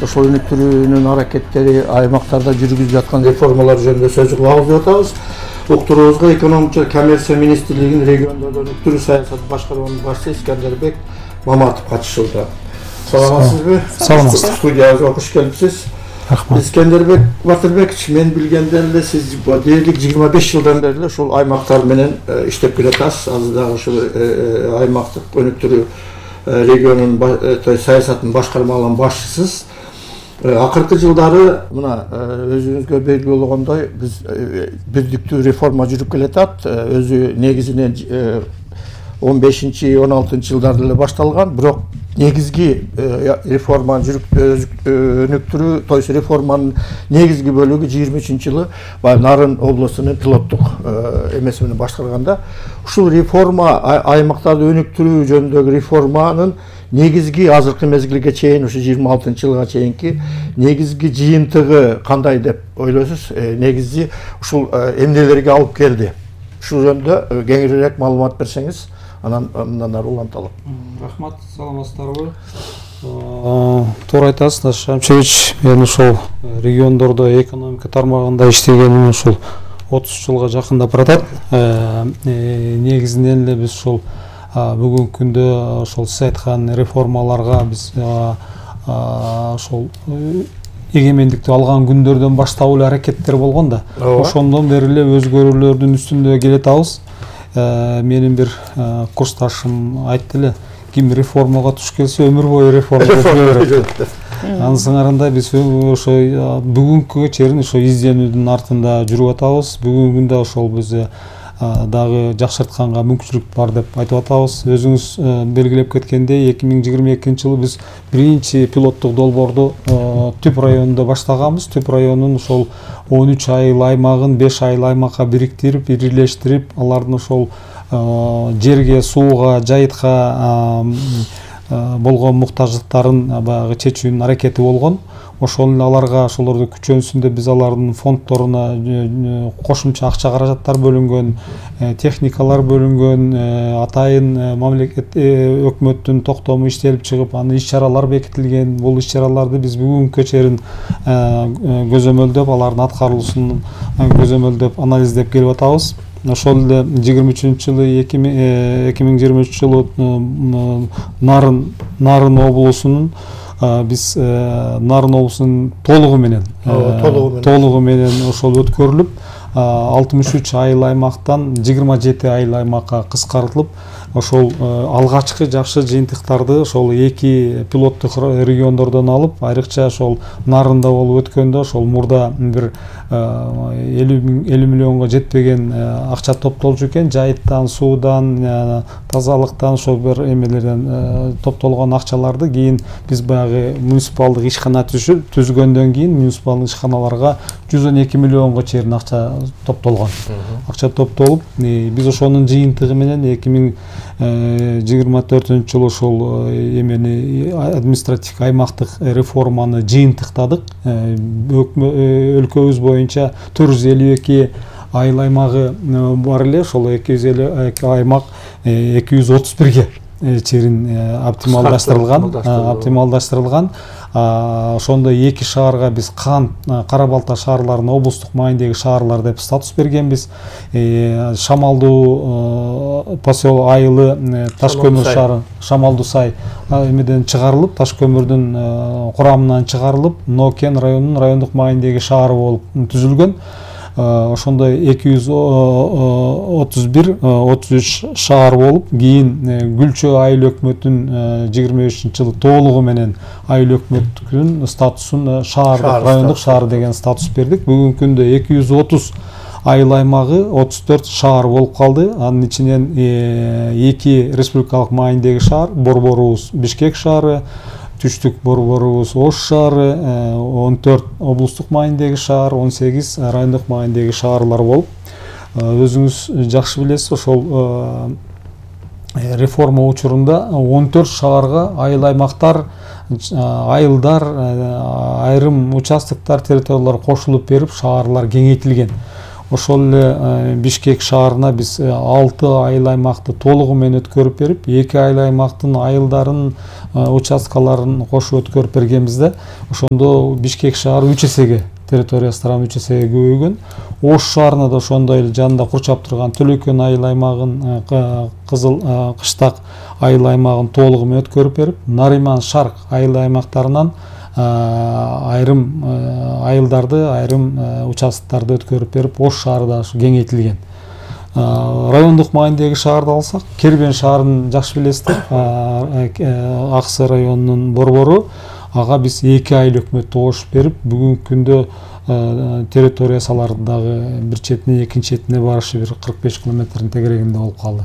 ошол өнүктүрүүнүн аракеттери, аймактарда жүргүзүлүп жаткан реформалар жөнүндө сөз кылабыз деп атабыз. Уктуруубузга экономика коммерция министрлигинин региондордо өнүктүрүү саясатын башкарманын башчысы Искандербек Маматов катышууда. Саламатсызбы? Саламатсыз. Студиябызга кош келипсиз. Рахмат. Искандербек Батырбекович, мен билгенден эле сиз дээрлик 25 жылдан бери ушул аймактар менен иштеп келатасыз. Азыр дагы ушул аймактык өнүктүрүү регионунун саясатын башкармаларынын башчысыз. Акыркы жылдары мына өзүңүзгө белгилүү болгондой биз бүздүктүү реформа жүрүп келатат. Өзү негизинен 15-16 жылдарда эле башталган, бирок негизги реформаны өнүктүрүү, то есть реформанын негизги бөлүгү 23-жылы баягы Нарын облусунун пилоттук эмеси менен башкарганда, ушул реформа аймактарды өнүктүрүү жөнүндөгү реформанын негизги азыркы мезгилге чейин, ушу 26-жылга чейинки негизги жыйынтыгы кандай деп ойлойсуз? Негизи ушул эмнелерге алып келди? Ушул жөнүндө кеңирээк маалымат берсеңиз, анан мындан ары уланталım. Рахмат, саламатсыздарбы? Туура айтасыз, Наш Шамшевич. Мен ушул региондордо экономика тармагында иштегеним ушул 30 жылга жакындап баратат. Негизинен эле биз ушул бүгүнкү күндө ошол сиз айткан реформаларга биз ошол эгемендикти алган күндөрдөн баштап эле аракеттер болгон да. Ошондон бери эле өзгөрүүлөрдүн үстүндө келатабыз. Менин бир курсташым айтты эле, ким реформага туш келсе өмүр бою реформага жүрө берет. Анын сыңарында биз ошо бүгүнкүгө чейин ошо изденүүдүн артында жүрүп атабыз. Бүгүнкү күндө ошол биз дагы жакшыртканга мүмкүнчүлүк бар деп айтып атабыз. Өзүңүз белгилеп кеткендей, 2022-жылы биз биринчи пилоттук долбоорду Түп районунда баштаганбыз. Түп районунун ошол 13 айыл аймагын 5 айыл аймакка бириктирип, ирилештирип, алардын ошол жерге, сууга, жайытка болгон муктаждыктарын баягы чечүүнүн аракети болгон. Ошол эле аларга, ошолорду күчөнсүндө биз алардын фонддоруна кошумча акча каражаттар бөлүнгөн, техникалар бөлүнгөн, атайын мамлекет өкмөттүн токтому иштелип чыгып, аны иш-чаралар бекитилген. Бул иш-чараларды биз бүгүнкүгө чейин көзөмөлдөп, алардын аткарылуусун көзөмөлдөп, анализдеп келип атабыз. Ошол эле 2023 жылы Нарын облусунун биз Нарын облусунун толугу менен ошол өткөрүлүп, 63 айыл аймактан 27 айыл аймакка кыскартылып, ошол алгачкы жакшы жыйынтыктарды ошол эки пилоттук региондордон алып, айрыкча ошол Нарында болуп өткөндө ошол мурда бир 50 миллионго жетпеген акча топтолчу экен. Жайыттан, суудан, тазалыктан, ошол бир эмелерден топтолгон акчаларды кийин биз баягы муниципалдык ишкана түзгөндөн кийин муниципалдык ишканаларга 112 миллионго чейин акча топтолгон. Акча топтолуп, биз ошонун жыйынтыгы менен 2024 жылы ошол эмени административдик аймактык реформаны жыйынтыктадык. Өлкөбүз боюнча 452 айыл аймагы бар эле, ошол 252 аймак 231ге чейин оптималдаштырылган. Ошондо эки шаарга биз Кара Балта шаарларын облустук маанидеги шаарлар деп статус бергенбиз. Шамалдуу поселок айылы Ташкөмүр шаары, Шамалдуу сай эмеден чыгарылып, Ташкөмүрдүн курамынан чыгарылып, Нокен районунун райондук маанидеги шаары болуп түзүлгөн. Ошондо 233 шаар болуп, кийин Гүлчө айыл өкмөтүнүн 25-жылы толугу менен айыл өкмөттүн статусун райондук шаар деген статус бердик. Бүгүнкү күндө 230 айыл аймагы 34 шаар болуп калды. Анын ичинен 2 республикалык маанидеги шаар, Борборубуз Бишкек шаары, Түштүк Борборубуз Ош шаары, 14 облустук маанидеги шаар, 18 райондук маанидеги шаарлар болуп, өзүңүз жакшы билесиз, ошол реформа учурунда 14 шаарга айыл аймактар, айылдар, айрым участоктор, территориялар кошулуп берип, шаарлар кеңейтилген. ошол эле Бишкек шаарына биз 6 айыл аймакты толугу менен өткөрүп берип, 2 айыл аймактын айылдарын, участкаларын кошуп өткөрүп бергенбиз да. Ошондо Бишкек шаары 3 эсеге, территориясы 3 эсеге көбөйгөн. Ош шаарына да ошондой эле жанында курчап турган Төлөкөн айыл аймагын, Кызыл Кыштак айыл аймагын толугу менен өткөрүп берип, Нариман Шарк айыл аймактарынан айрым айылдарды, айрым участоктарды өткөрүп берип, Ош шаары да кеңейтилген. Райондук маанидеги шаарды алсак, Кербен шаарын жакшы билесиздер, Аксы районунун борбору. Ага биз 2 айыл өкмөттү кошуп берип, бүгүнкү күндө территориясалардагы бир четине экинчи четине барышы бир 45 километрдин тегерегинде болуп калды.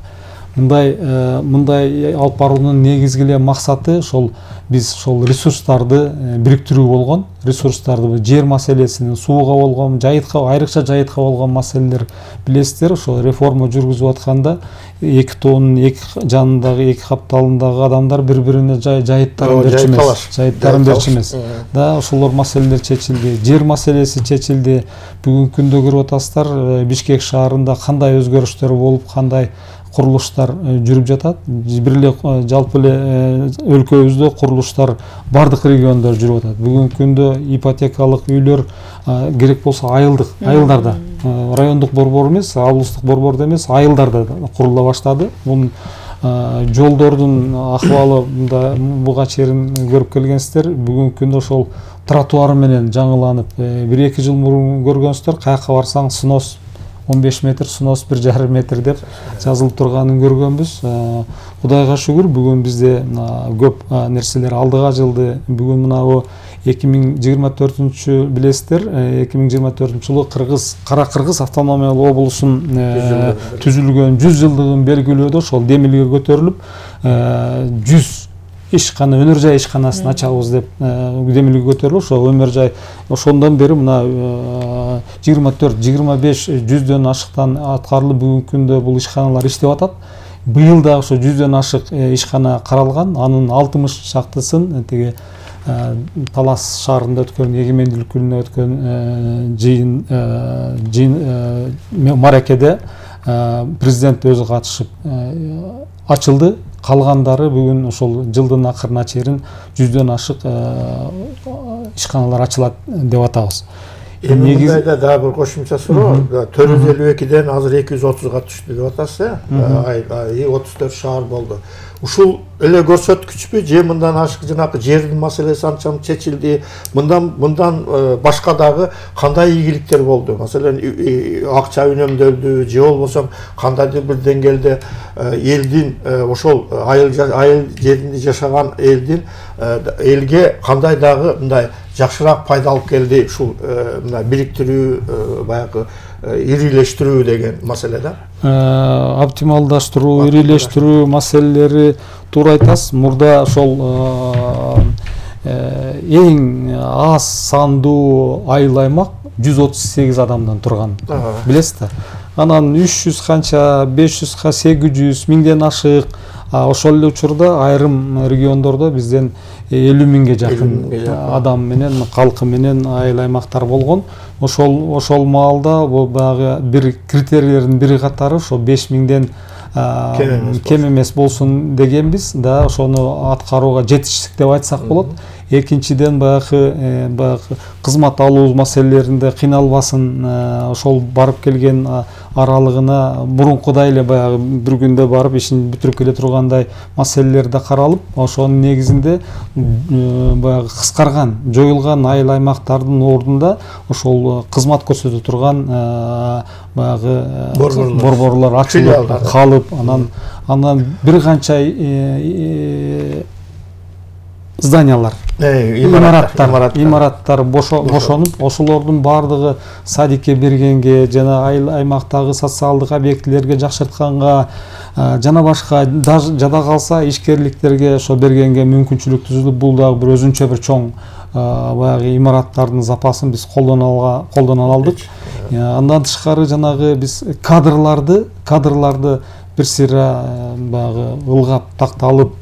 Мындай алып баруунун негизги эле максаты ошол биз ошол ресурстарды бириктирүү болгон. Ресурстарды жер маселесинин, сууга болгон, жайытка, айрыкча жайытка болгон маселелер билесиздер. Ошол реформа жүргүзүп атканда эки тоонун эки жанындагы, эки капталындагы адамдар бири-бирине жайыттарын берчү эмес. Жайыттарын берчү эмес. Да, ошолор маселелер чечилди. Жер маселеси чечилди. Бүгүнкү күндө көрүп атасыздар, Бишкек шаарында кандай өзгөрүштөр болуп, кандай курулуштар жүрүп жатат. Бир эле жалпы эле өлкөбүздө курулуштар бардык региондор жүрүп атат. Бүгүнкү күндө ипотекалык үйлөр керек болсо айылдарда, райондук борбор эмес, облустук борбордо эмес, айылдарда курула баштады. Бунун жолдордун ахыбалы буга чейин көрүп келгенсиздер. Бүгүнкү күндө ошол тротуары менен жаңыланып, 1-2 жыл мурун көргөнсүздөр, каяка барсаң снос 15 метр, снос 1,5 метр деп жазылып турганын көргөнбүз. Кудайга шүгүр, бүгүн бизде көп нерселер алдыга жылды. Бүгүн мынабу 2024 билесиздер, 2024 жылы Кара Кыргыз автономиялык облусун түзүлгөн 100 жылдыгын белгилөөдө ошол демилге көтөрүлүп, 100 ишкана, өнөр жай ишканасын ачабыз деп демилге көтөрүлүп, ошол өмөр жай ошондон бери мына 24-25 жүздөн ашыктан аткарылып, бүгүнкү күндө бул ишканалар иштеп атат. Быйыл да ошо 100дөн ашык ишкана каралган. Анын 60 шактысын тиги Талас шаарында өткөн, эгемендүүлүк күнүнө өткөн жыйын маракеде президент өзү катышып ачылды. Калгандары бүгүн ошол жылдын акырына чейин 100дөн ашык ишканалар ачылат деп атабыз. Мындайда дагы бир кошумча суроо, 452ден азыр 230га түштү деп атасыз, 34 шаар болду. Ушул эле көрсөткүчпү, же мындан ашык жанакы жердин маселеси анчалык чечилди? Мындан башка дагы кандай ийгиликтер болду? Маселен, акча үнөмдөлдү, же болбосо кандайдыр бир деңгээлде элдин ошол айыл жеринде жашаган элге кандай дагы мындай жакшыраак пайда алып келди ушул мына бириктирүү, баягы ирилештирүү деген маселе да. Оптималдаштыруу, ирилештирүү маселелери туура айтасыз. Мурда ошол эң аз сандуу айыл аймак 138 адамдан турган, билесиз да. Анан 300 канча, 500га 800 миңден ашык. Ошол эле учурда айрым региондордо бизден 50 миңге жакын адам менен, калкы менен айыл аймактар болгон. Ошол маалда бул баягы бир критерийлердин бири катары ошо 5 миңден кем эмес болсун дегенбиз да. Ошону аткарууга жетиштик деп айтсак болот. Экинчиден баягы кызмат алуу маселелеринде кыйналбасын, ошол барып келген аралыгына мурункудай эле баягы бир күндө барып ишин бүтүрүп келе тургандай маселелер да каралып, ошонун негизинде баягы кыскарган, жоюлган айыл аймактардын ордунда ошол кызмат көрсөтө турган баягы борборлор ачылып калып, анан бир канча зданиялар, имараттар бошонуп, ошолордун баардыгы садикке бергенге, жана айыл аймактагы социалдык объектилерге жакшыртканга, жана башка жада калса ишкерликтерге ошо бергенге мүмкүнчүлүк түзүлүп, бул дагы бир өзүнчө бир чоң баягы имараттардын запасын биз колдоно алдык. Андан тышкары жанагы биз кадрларды бир сыйра баягы ылгап такталып,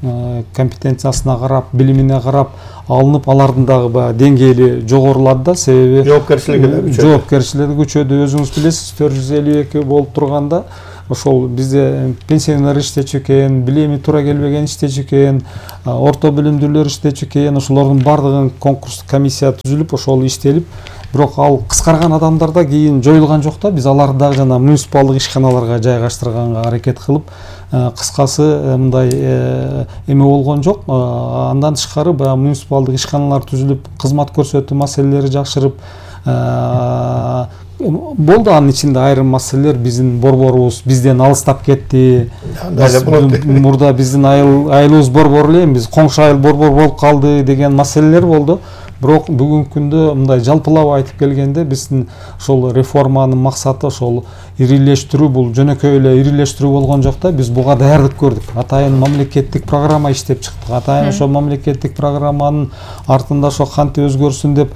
компетенциясына карап, билимине карап алынып, алардын дагы баягы деңгээли жогорулады да, себеби жоопкерчилиги күчөдү. Өзүңүз билесиз, 452 болуп турганда ошол бизде пенсионер иштечү экен, билими туура келбеген иштечү экен, орто билимдүүлөр иштечү экен. Ошолордун бардыгын конкурс комиссия түзүлүп, ошол иштелип, бирок ал кыскарган адамдарда кийин жоюлган жок да. Биз аларды дагы жана муниципалдык ишканаларга жайгаштырганга аракет кылып, кыскасы мындай эме болгон жок. Андан тышкары баягы муниципалдык ишканалар түзүлүп, кызмат көрсөтүү маселелери жакшырып болду. Анын ичинде айрым маселелер биздин борборубуз бизден алыстап кетти. Мурда биздин айылыбыз борбор эле, биз коңшу айыл борбор болуп калды деген маселелер болду. Бирок бүгүнкү күндө мындай жалпылап айтып келгенде биздин ошол реформанын максаты ошол ирилештирүү, бул жөнөкөй эле ирилештирүү болгон жок да. Биз буга даярдык көрдүк. Атайын мамлекеттик программа иштеп чыктык. Атайын ошол мамлекеттик программанын артында ошо кантип өзгөрсүн деп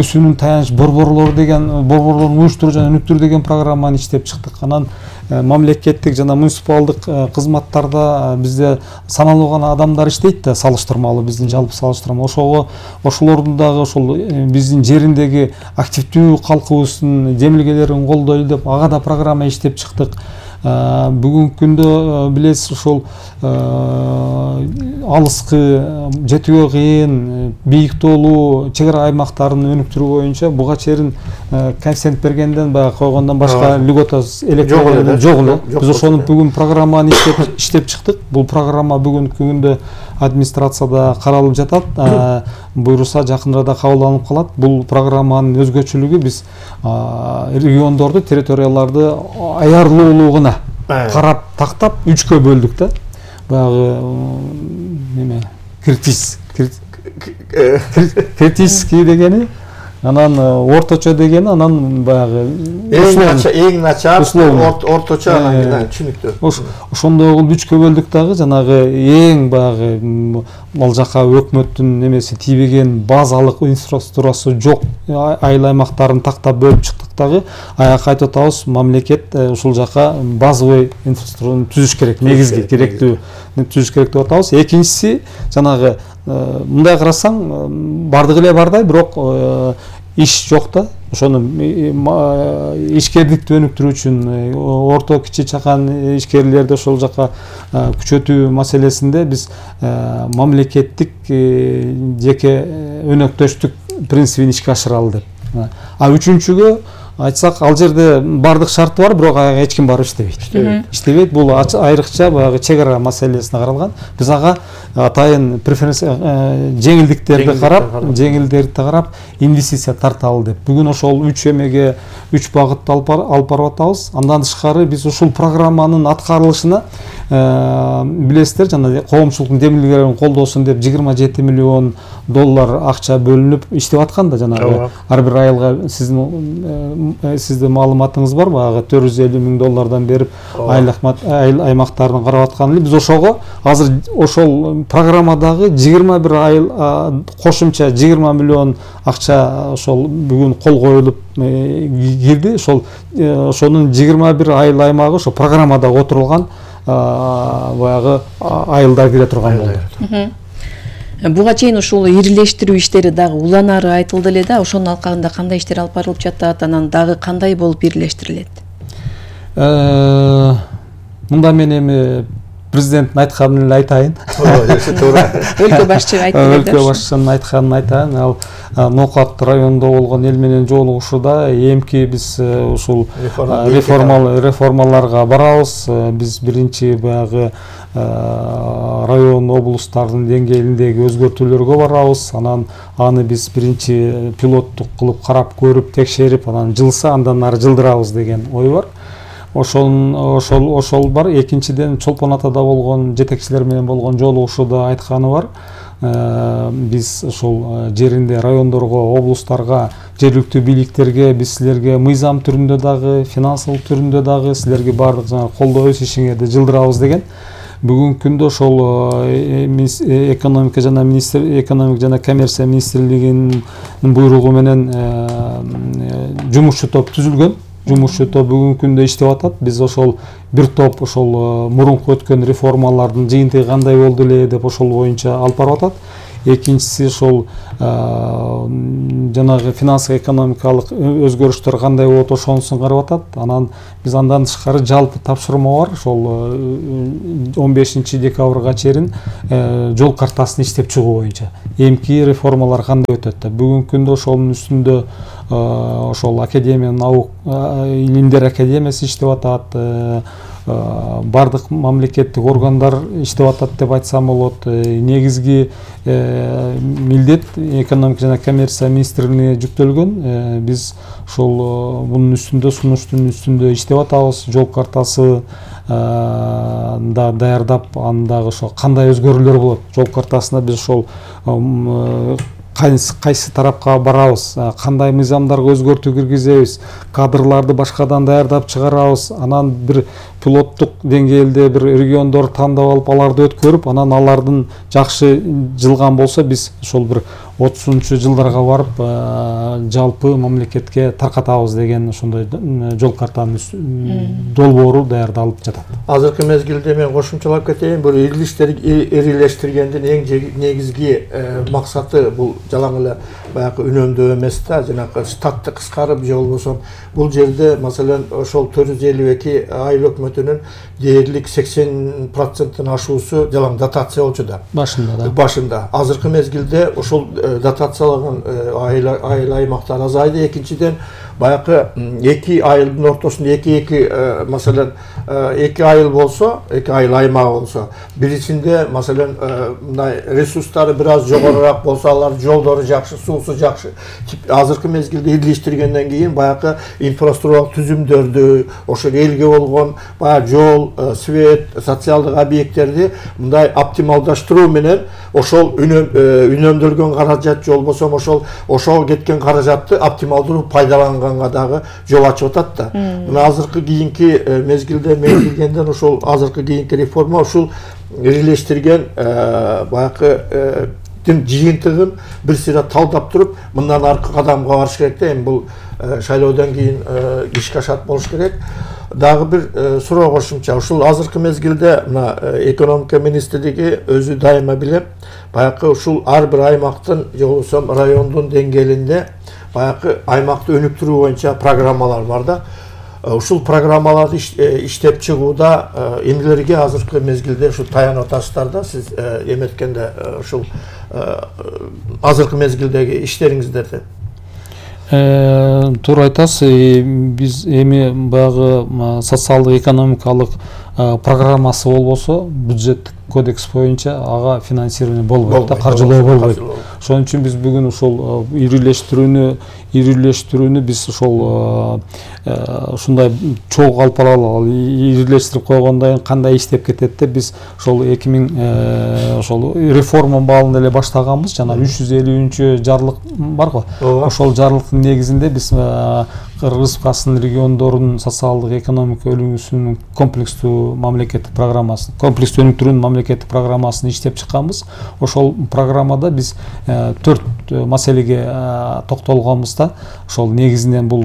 өсүүнүн таяныч борборлору деген, борборлордун уюштуруу жана өнүктүрүү деген программаны иштеп чыктык. Анан мамлекеттик жана муниципалдык кызматтарда бизде саналуу гана адамдар иштейт да, салыштырмалуу, биздин жалпы салыштырма. Ошолордун дагы ошол биздин жериндеги активдүү калкыбыздын демилгелерин колдойлу деп ага да программа иштеп чыктык. Бүгүнкү күндө билесиз, ошол алыскы, жетүүгө кыйын, бийик тоолуу чек ара аймактарын өнүктүрүү боюнча буга чейин коэффициент бергенден баягы койгондон башка льгота жок эле. Биз ошону бүгүн программаны иштеп чыктык. Бул программа бүгүнкү күндө администрацияда каралып жатат. Буйруса жакында кабылданып калат. Бул программанын өзгөчөлүгү биз региондорду, территорияларды аярлуулугуна карап тактап 3кө бөлдүк да. Баягы неме критический дегени, анан орточо дегени, анан баягы эң начар, орточо, анан түшүнүктүү. Ошондой кылып 3кө бөлдүк дагы, жанагы эң баягы ал жака өкмөттүн немеси тийбеген базалык инфраструктурасы жок айыл аймактарын тактап бөлүп чыктык дагы. Аяка айтып атабыз, мамлекет ушул жака базовый инфраструктураны түзүш керек, негизги керектүү түзүш керек деп атабыз. Экинчиси, жанагы мындай карасаң бардыгы эле бардай, бирок иш жок да. Ошону ишкердикти өнүктүрүү үчүн орто кичи чакан ишкерлерди ошол жака күчөтүү маселесинде биз мамлекеттик жеке өнөктөштүк принцибин ишке ашыралы деп. Үчүнчүгө айтсак, ал жерде бардык шарты бар, бирок ага эч ким барып иштебейт. Бул айрыкча баягы чек ара маселесине каралган. Биз ага атайын жеңилдиктерди карап, инвестиция тарталы деп. Бүгүн ошол 3 эмеге 3 багытты алып барып атабыз. Андан тышкары биз ушул программанын аткарылышына билесиздер, жана коомчулуктун демилгелерин колдосун деп $27 миллион акча бөлүнүп иштеп аткан да. Жанагы ар бир айылга сиздин маалыматыңыз бар, баягы $450 миң берип айыл аймактарын карап аткан эле. Биз ошого азыр ошол программадагы 21 айыл кошумча 20 миллион акча ошол бүгүн кол коюлуп кирди. Ошонун 21 айыл аймагы ошо программада отурулган баягы айылдар кире турган болду. Буга чейин ушул ирилештирүү иштери дагы уланары айтылды эле да. Ошонун алкагында кандай иштер алып барылып жатат, анан дагы кандай болуп ирилештирилет? Мында мен эми президенттин айтканын эле айтайын. Өлкө башчы айтты. Өлкө башчынын айтканын айтайын. Ал Ноокат районунда болгон эл менен жолугушууда эмки биз ушул реформаларга барабыз. Биз биринчи баягы район, облустардын деңгээлиндеги өзгөртүүлөргө барабыз. Анан аны биз биринчи пилоттук кылып карап көрүп, текшерип, анан жылса андан ары жылдырабыз деген ой бар. Ошол бар. Экинчиден, Чолпон Атада болгон жетекчилер менен болгон жолугушууда айтканы бар. Биз ошол жеринде райондорго, облустарга, жергиликтүү бийликтерге биз силерге мыйзам түрүндө дагы, финансылык түрүндө дагы силерге баардык колдоо өз ишиңерди жылдырабыз деген. Бүгүнкү күндө ошол экономика жана коммерция министрлигинин буйругу менен жумушчу топ түзүлгөн. жумушчу топ бүгүнкү күндө иштеп атат. Биз ошол бир топ ошол мурунку өткөн реформалардын жыйынтыгы кандай болду эле деп ошол боюнча алып барып атат. Экинчиси ошол жанагы финансылык экономикалык өзгөрүштөр кандай болот ошонусун карап атат. Анан биз андан тышкары жалпы тапшырма бар. Ошол 15 декабрга чейин жол картасын иштеп чыгуу боюнча эмки реформалар кандай өтөт. Бүгүнкү күндө ошонун үстүндө ошол академия илимдер академиясы иштеп атат. Бардык мамлекеттик органдар иштеп атат деп айтсам болот. Негизги милдет экономика жана коммерция министрлигине жүктөлгөн. Биз ошол бунун үстүндө сунуштун үстүндө иштеп атабыз. Жол картасы да даярдап, андагы ошо кандай өзгөрүүлөр болот. Жол картасына биз ошол кайсы тарапка барабыз, кандай мыйзамдарга өзгөртүү киргизебиз, кадрларды башкадан даярдап чыгарабыз, анан бир пилоттук деңгээлде бир региондор тандап алып, аларды өткөрүп, анан алардын жакшы жылган болсо биз ошол бир 30 жылдарга барып жалпы мамлекетке таркатабыз деген ошондой жол картанын долбоору даярдалып жатат. Азыркы мезгилде мен кошумчалап кетейин, бул ирилештиргендин эң негизги максаты бул жалаң эле баягы үнөмдөө эмес да, жанагы штатты кыскарып же болбосо бул жерде маселен ошол 452 айыл өкмөтүнүн дээрлик 80%-тын ашуусу жалаң дотация болчу да. Башында. Азыркы мезгилде ошол дотациялаган айыл аймактар азайды. Экинчиден баягы 2 айылдын ортосунда 2 маселен 2 айыл болсо, 2 айыл аймагы болсо, бирисинде маселен мындай ресурстары бир аз жогорураак болсо, алар жолдору жакшы, суусу жакшы. Азыркы мезгилде ирилештиргенден кийин баягы инфраструктуралык түзүмдөрдү, ошол элге болгон баягы жол, свет, социалдык объекттерди мындай оптималдаштыруу менен ошол үнөмдөлгөн каражат же болбосо ошол кеткен каражатты оптималдуу пайдаланганга дагы жол ачып атат да. Мына азыркы кийинки мезгилде мен билгенден ошол азыркы кийинки реформа ушул ирилештирген баягы жыйынтыгын бир сыйра талдап туруп, мындан аркы кадамга барыш керек да. Эми бул шайлоодон кийин ишке ашат болуш керек. Дагы бир суроо кошумча, ушул азыркы мезгилде мына экономика министрлиги өзү дайыма билем, баягы ушул ар бир аймактын же болбосо райондун деңгээлинде баягы аймакты өнүктүрүү боюнча программалар бар да. Ушул программаларды иштеп чыгууда эмнелерге азыркы мезгилде ушул таянып атасыздар да, сиз эметкенде ушул азыркы мезгилдеги иштериңиздерди? Туура айтасыз. Биз эми баягы социалдык экономикалык программасы болбосо, бюджеттик кодекс боюнча ага финансирование болбойт да, каржылоо болбойт. Ошон үчүн биз бүгүн ушул ирилештирүүнү биз ошол ушундай чогуу алып баралы, ирилештирип койгондон кийин кандай иштеп кетет деп биз ошол 2000 ошол реформа баалында эле баштаганбыз. Жана 350 жарлык бар го. Ошол жарлыктын негизинде биз Кыргыз Республикасынын региондорунун социалдык экономика өнүгүүсүнүн комплекстүү мамлекеттик программасын, комплекстүү өнүктүрүүнүн мамлекеттик программасын иштеп чыкканбыз. Ошол программада биз 4 маселеге токтолгонбуз да. Ошол негизинен бул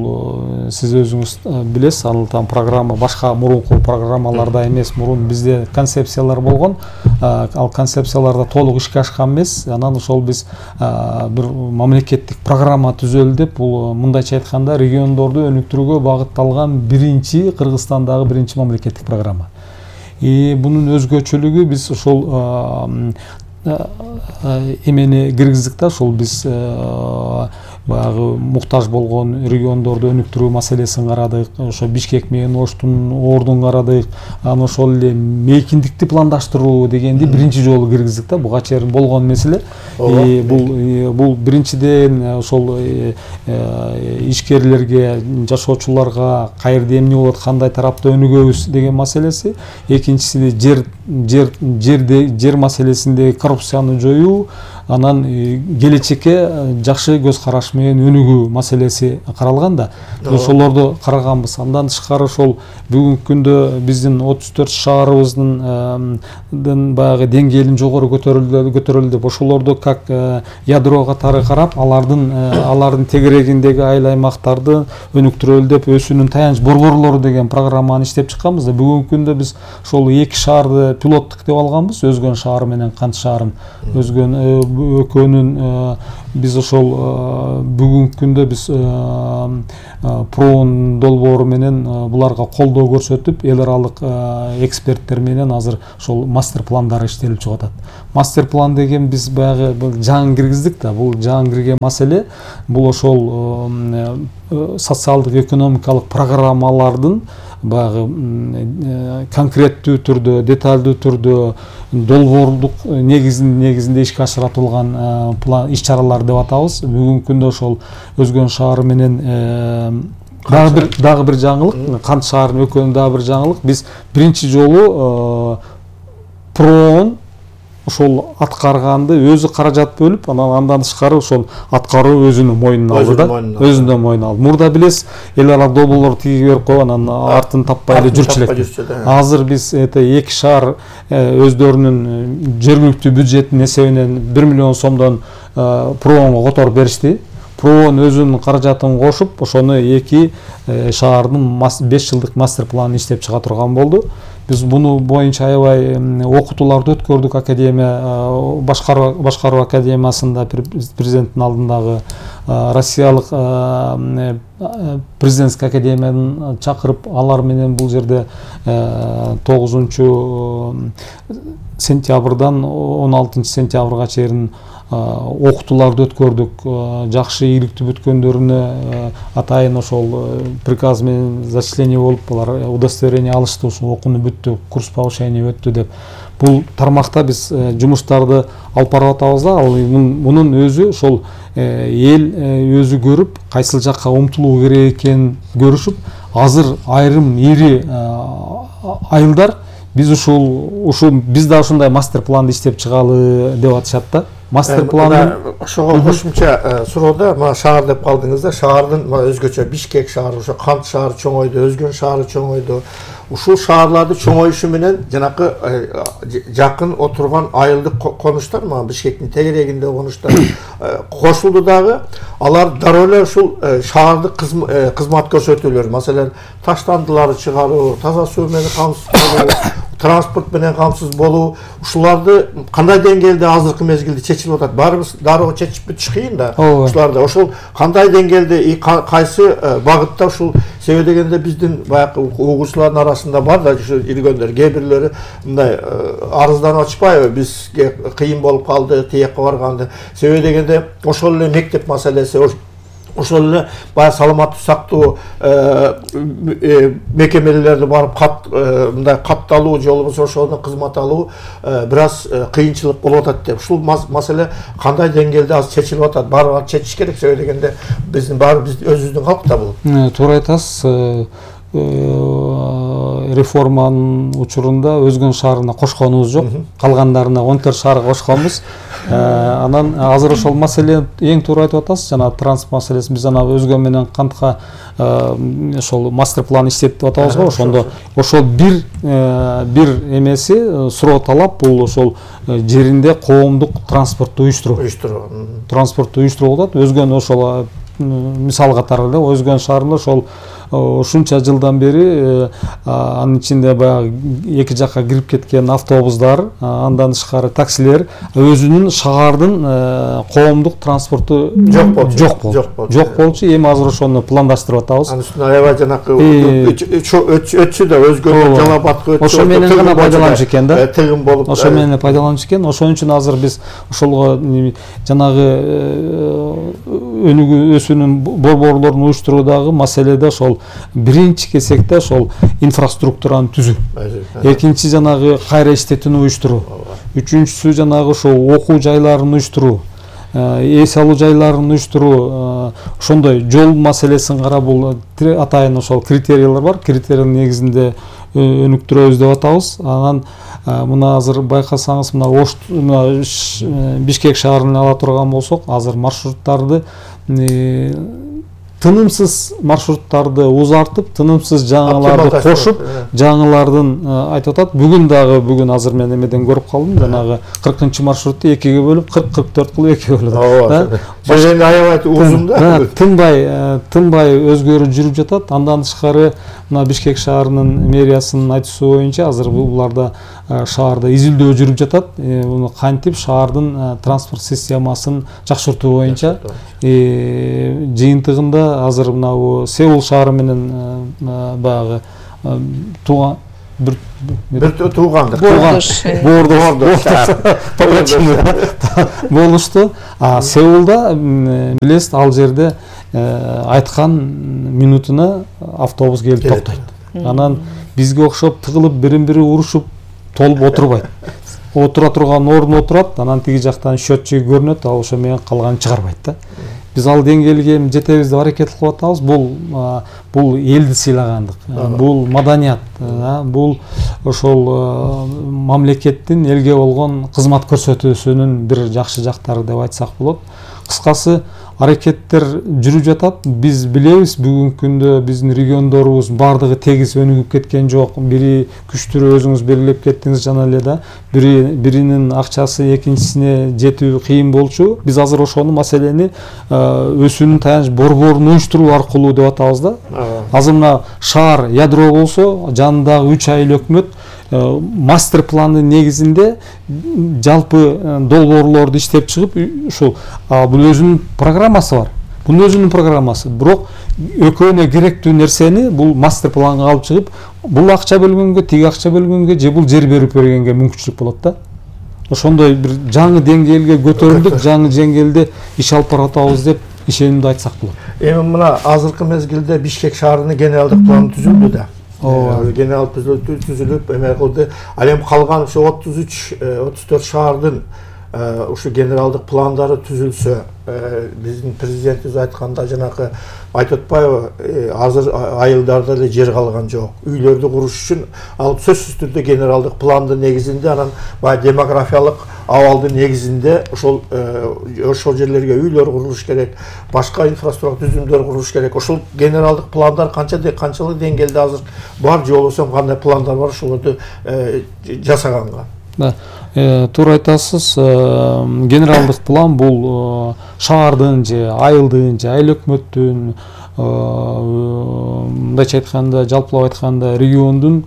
сиз өзүңүз билесиз, ал программа башка мурунку программаларда эмес, мурун бизде концепциялар болгон. Ал концепцияларда толук ишке ашкан эмес. Анан ошол биз бир мамлекеттик программа түзөлдү деп, бул мындайча айтканда региондорду өнүктүрүүгө багытталган Кыргызстандагы биринчи мамлекеттик программа. Бунун өзгөчөлүгү биз ошол эмени киргиздик да, ошол биз баягы муктаж болгон региондорду өнүктүрүү маселесин карадык, ошо Бишкек менен Оштун ордун карадык, анан ошол эле мейкиндикти пландаштыруу дегенди биринчи жолу киргиздик да. Буга чейин болгон меселе. Бул биринчиден ошол ишкерлерге, жашоочуларга каерде эмне болот, кандай тарапта өнүгөбүз деген маселеси. Экинчиси жер маселесиндеги коррупцияны жоюу, анан келечекке жакшы көз караш менен өнүгүү маселеси каралган да. Ошолорду караганбыз. Андан тышкары ошол бүгүнкү күндө биздин 34 шаарыбыздын баягы деңгээлин жогору көтөрүлдү деп ошолорду как ядро катары карап, алардын тегерегиндеги айыл аймактарды өнүктүрөлү деп өсүүнүн таяныч борборлору деген программаны иштеп чыкканбыз да. Бүгүнкү күндө биз ошол 2 шаарды пилоттук деп алганбыз, Өзгөн шаары менен Кант шаарын. Өзгөн экөөнүн биз ошол бүгүнкү күндө биз проон долбоору менен буларга колдоо көрсөтүп, эл аралык эксперттер менен азыр ошол мастер пландары иштелип чыгып атат. Мастер план деген биз баягы жаңы киргиздик да. Бул жаңы кирген маселе, бул ошол социалдык экономикалык программалардын баягы конкреттүү түрдө, деталдуу түрдө, долбоорлук негизинде ишке ашырылган иш-чаралар деп атабыз. Бүгүнкү күндө ошол Өзгөн шаары менен дагы бир жаңылык, Кант шаарынын экөөнүн дагы бир жаңылык. Биз биринчи жолу проон ошол аткарганды өзү каражат бөлүп, андан тышкары ошол аткаруу өзүнүн мойнуна алды да. Өзүнүн мойнуна алды. Мурда билесиз, эл аралык долбоорлорду тиги берип койгон, анан артын таппай эле жүрчү элек. Азыр биз 2 шаар өздөрүнүн жергиликтүү бюджеттин эсебинен 1 миллион сомдон проонго которуп беришти. Проон өзүнүн каражатын кошуп, ошону 2 шаардын 5 жылдык мастер планын иштеп чыга турган болду. Биз буну боюнча аябай окутууларды өткөрдүк. Академия, башкаруу академиясында президенттин алдындагы Россиялык президентский академияны чакырып, алар менен бул жерде 9 сентябрдан 16 сентябрга чейин окутууларды өткөрдүк. Жакшы ийгиликтүү бүткөндөрүнө атайын ошол приказ менен зачисление болуп, алар удостоверение алышты, ошол окууну бүттү, курс повышение өттү деп. Бул тармакта биз жумуштарды алып барып атабыз да. Мунун өзү ошол эл өзү көрүп, кайсыл жакка умтулуу керек экенин көрүшүп, азыр айрым ири айылдар биз биз да ушундай мастер планды иштеп чыгалы деп атышат да. Мастер планы ошого кошумча суроода мына шаар деп калдыңыз да. Шаардын өзгөчө Бишкек шаары, ошо Кант шаары чоңойду, Өзгөн шаары чоңойду. Ушул шаарларды чоңоюшу менен жанакы жакын отурган айылдык конуштар, мына Бишкектин тегерегинде конуштар кошулду дагы. Алар дароо эле ушул шаардык кызмат көрсөтүүлөр, маселен, таштандыларды чыгаруу, таза суу менен камсыз болуу, транспорт менен камсыз болуу, ушуларды кандай деңгээлде азыркы мезгилде чечилип атат? Баарыбыз дароо чечип бүтүш кыйын да. Ушуларды ошол кандай деңгээлде, кайсы багытта ушул себеби дегенде биздин баягы угуучулардын арасында бар да ушу илгөндөр, кээ бирлери мындай арызданып ачпайбы, бизге кыйын болуп калды тиякка барганды. Себеби дегенде ошол эле мектеп маселеси, ошол эле баягы саламаттуу сактоо мекемелерди барып мындай катталуу же болбосо ошондон кызмат алуу бир аз кыйынчылык болуп атат деп. Ушул маселе кандай деңгээлде азыр чечилип атат? Баары чечиш керек. Себеби дегенде биздин өзүбүздүн калк да бул. Туура айтасыз. Реформанын учурунда Өзгөн шаарына кошконубуз жок, калгандарына 14 шаарга кошконбуз. Анан азыр ошол маселе эң туура айтып атасыз, жана транспорт маселеси. Биз ана Өзгөн менен Кантка ошол мастер план иштеп атабыз го. Ошондо ошол бир эмеси суроо талап, бул ошол жеринде коомдук транспортду уюштуруу. Транспортду уюштуруу болот. Өзгөн ошол мисал катары эле Өзгөн шаарында ошол ушунча жылдан бери анын ичинде баягы эки жакка кирип кеткен автобустар, андан тышкары таксилер, өзүнүн шаардын коомдук транспорту жок болчу. Эми азыр ошону пландаштырып атабыз. Анын үстүнө аябай жанакы өтчү да, Өзгөн Жалал-Абадка өтчү. Ошо менен гана пайдаланчу экен да. Тыгын болуп. Ошо менен пайдаланчу экен. Ошон үчүн азыр биз ошолго жанагы өнүгүү өсүүнүн борборлорун уюштуруудагы маселеде ошол биринчи кезекте ошол инфраструктураны түзүү, экинчи жанагы кайра иштетүүнү уюштуруу, үчүнчүсү жанагы ошол окуу жайларын уюштуруу, эс алуу жайларын уюштуруу, ошондой жол маселесин карап, бул атайын ошол критериялар бар. Критериянын негизинде өнүктүрөбүз деп атабыз. Анан мына азыр байкасаңыз мына Бишкек шаарын ала турган болсок, азыр маршруттарды тынымсыз маршруттарды узартып, тынымсыз жаңыларды кошуп, жаңылардын айтып атат. Бүгүн азыр мен эмеден көрүп калдым, жанагы 40-маршрутты 2-ге бөлүп, 40-44 кылып 2-ге бөлүп. Жөнүндө аябай узун да. Тынбай өзгөрүп жүрүп жатат. Андан тышкары мына Бишкек шаарынын мэриясынын айтуусу боюнча азыр буларда шаарда изилдөө жүрүп жатат. Муну кантип шаардын транспорт системасын жакшыртуу боюнча жыйынтыгында азыр мына Сеул шаары менен баягы тууган бир туугандык болушту. Сеулда билесиз, ал жерде айткан минутуна автобус келип токтойт. Анан бизге окшоп тыгылып бирин-бири урушуп толуп отурбайт. Отура турган ордуна отурат, анан тиги жактан счетчиги көрүнөт, ал ошо менен калганын чыгарбайт да. Биз ал деңгээлге жетебиз деп аракет кылып атабыз. Бул элди сыйлагандык, бул маданият, бул ошол мамлекеттин элге болгон кызмат көрсөтүүсүнүн бир жакшы жактары деп айтсак болот. Кыскасы, аракеттер жүрүп жатат. Биз билебиз, бүгүнкү күндө биздин региондорубуз бардыгы тегиз өнүгүп кеткен жок. Бири күчтүүрөөк, өзүңүз белгилеп кеттиңиз жана эле да. Биринин акчасы экинчисине жетүү кыйын болчу. Биз азыр ошону маселени өсүүнүн таяныч борборун уюштуруу аркылуу деп атабыз да. Азыр мына шаар ядро болсо, жанындагы 3 айыл өкмөт мастер пландын негизинде жалпы долбоорлорду иштеп чыгып, ушул бул өзүнүн программасы бар. Бунун өзүнүн программасы. Бирок экөөнө керектүү нерсени бул мастер планга алып чыгып, бул акча бөлгөнгө, тиги акча бөлгөнгө же бул жер берип бергенге мүмкүнчүлүк болот да. Ошондой бир жаңы деңгээлге көтөрүлдүк, жаңы деңгээлде иш алып баратабыз деп ишенимди айтсак болот. Эми мына азыркы мезгилде Бишкек шаарынын генералдык планы түзүлдү да. Генерал түзүлүп эме кылды. Ал эми калган ушу 33-34 шаардын ушу генералдык пландары түзүлсө, биздин президентибиз айтканда жанагы айтып атпайбы, азыр айылдарда эле жер калган жок. Үйлөрдү куруш үчүн ал сөзсүз түрдө генералдык пландын негизинде, анан баягы демографиялык абалдын негизинде ошол жерлерге үйлөр курулуш керек, башка инфраструктура түзүмдөр курулуш керек. Ошол генералдык пландар канчалык деңгээлде азыр бар, же болбосо кандай пландар бар, ошолорду жасаганга? Туура айтасыз. Генералдык план бул шаардын же айылдын же айыл өкмөттүн, мындайча айтканда, жалпылап айтканда региондун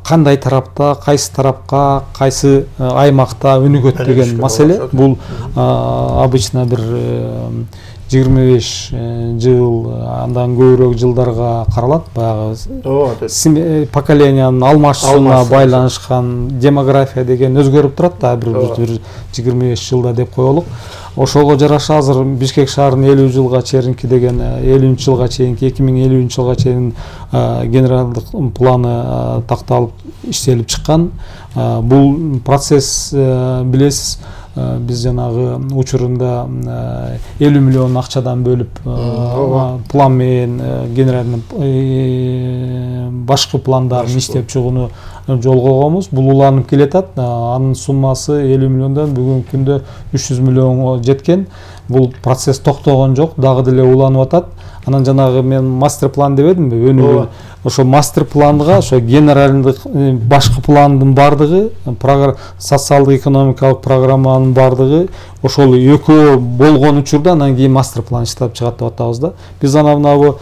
кандай тарапта, кайсы тарапка, кайсы аймакта өнүгөт деген маселе. Бул обычно бир 25 жыл, андан көбүрөөк жылдарга каралат. Баягы поколениянын алмашуусуна байланышкан демография деген өзгөрүп турат да, бир 25 жылда деп коелук. Ошого жараша азыр Бишкек шаарынын 50 жылга чейинки деген 50-жылга чейинки 2050 жылга чейин генералдык планы такталып иштелип чыккан. Бул процесс билесиз, биз жанагы учурунда 50 миллион акчадан бөлүп план менен генеральный башкы пландарын иштеп чыгууну жолго койгонбуз. Бул уланып келатат. Анын суммасы 50 миллиондон бүгүнкү күндө 300 миллионго жеткен. Бул процесс токтогон жок, дагы деле уланып атат. Анан жанагы мен мастер план дебедимби? Өнүгүү. Ошо мастер планга, ошо генералдык башкы пландын бардыгы, социалдык экономикалык программанын бардыгы ошол экөө болгон учурда анан кийин мастер план иштеп чыгат деп атабыз да. Биз анан мына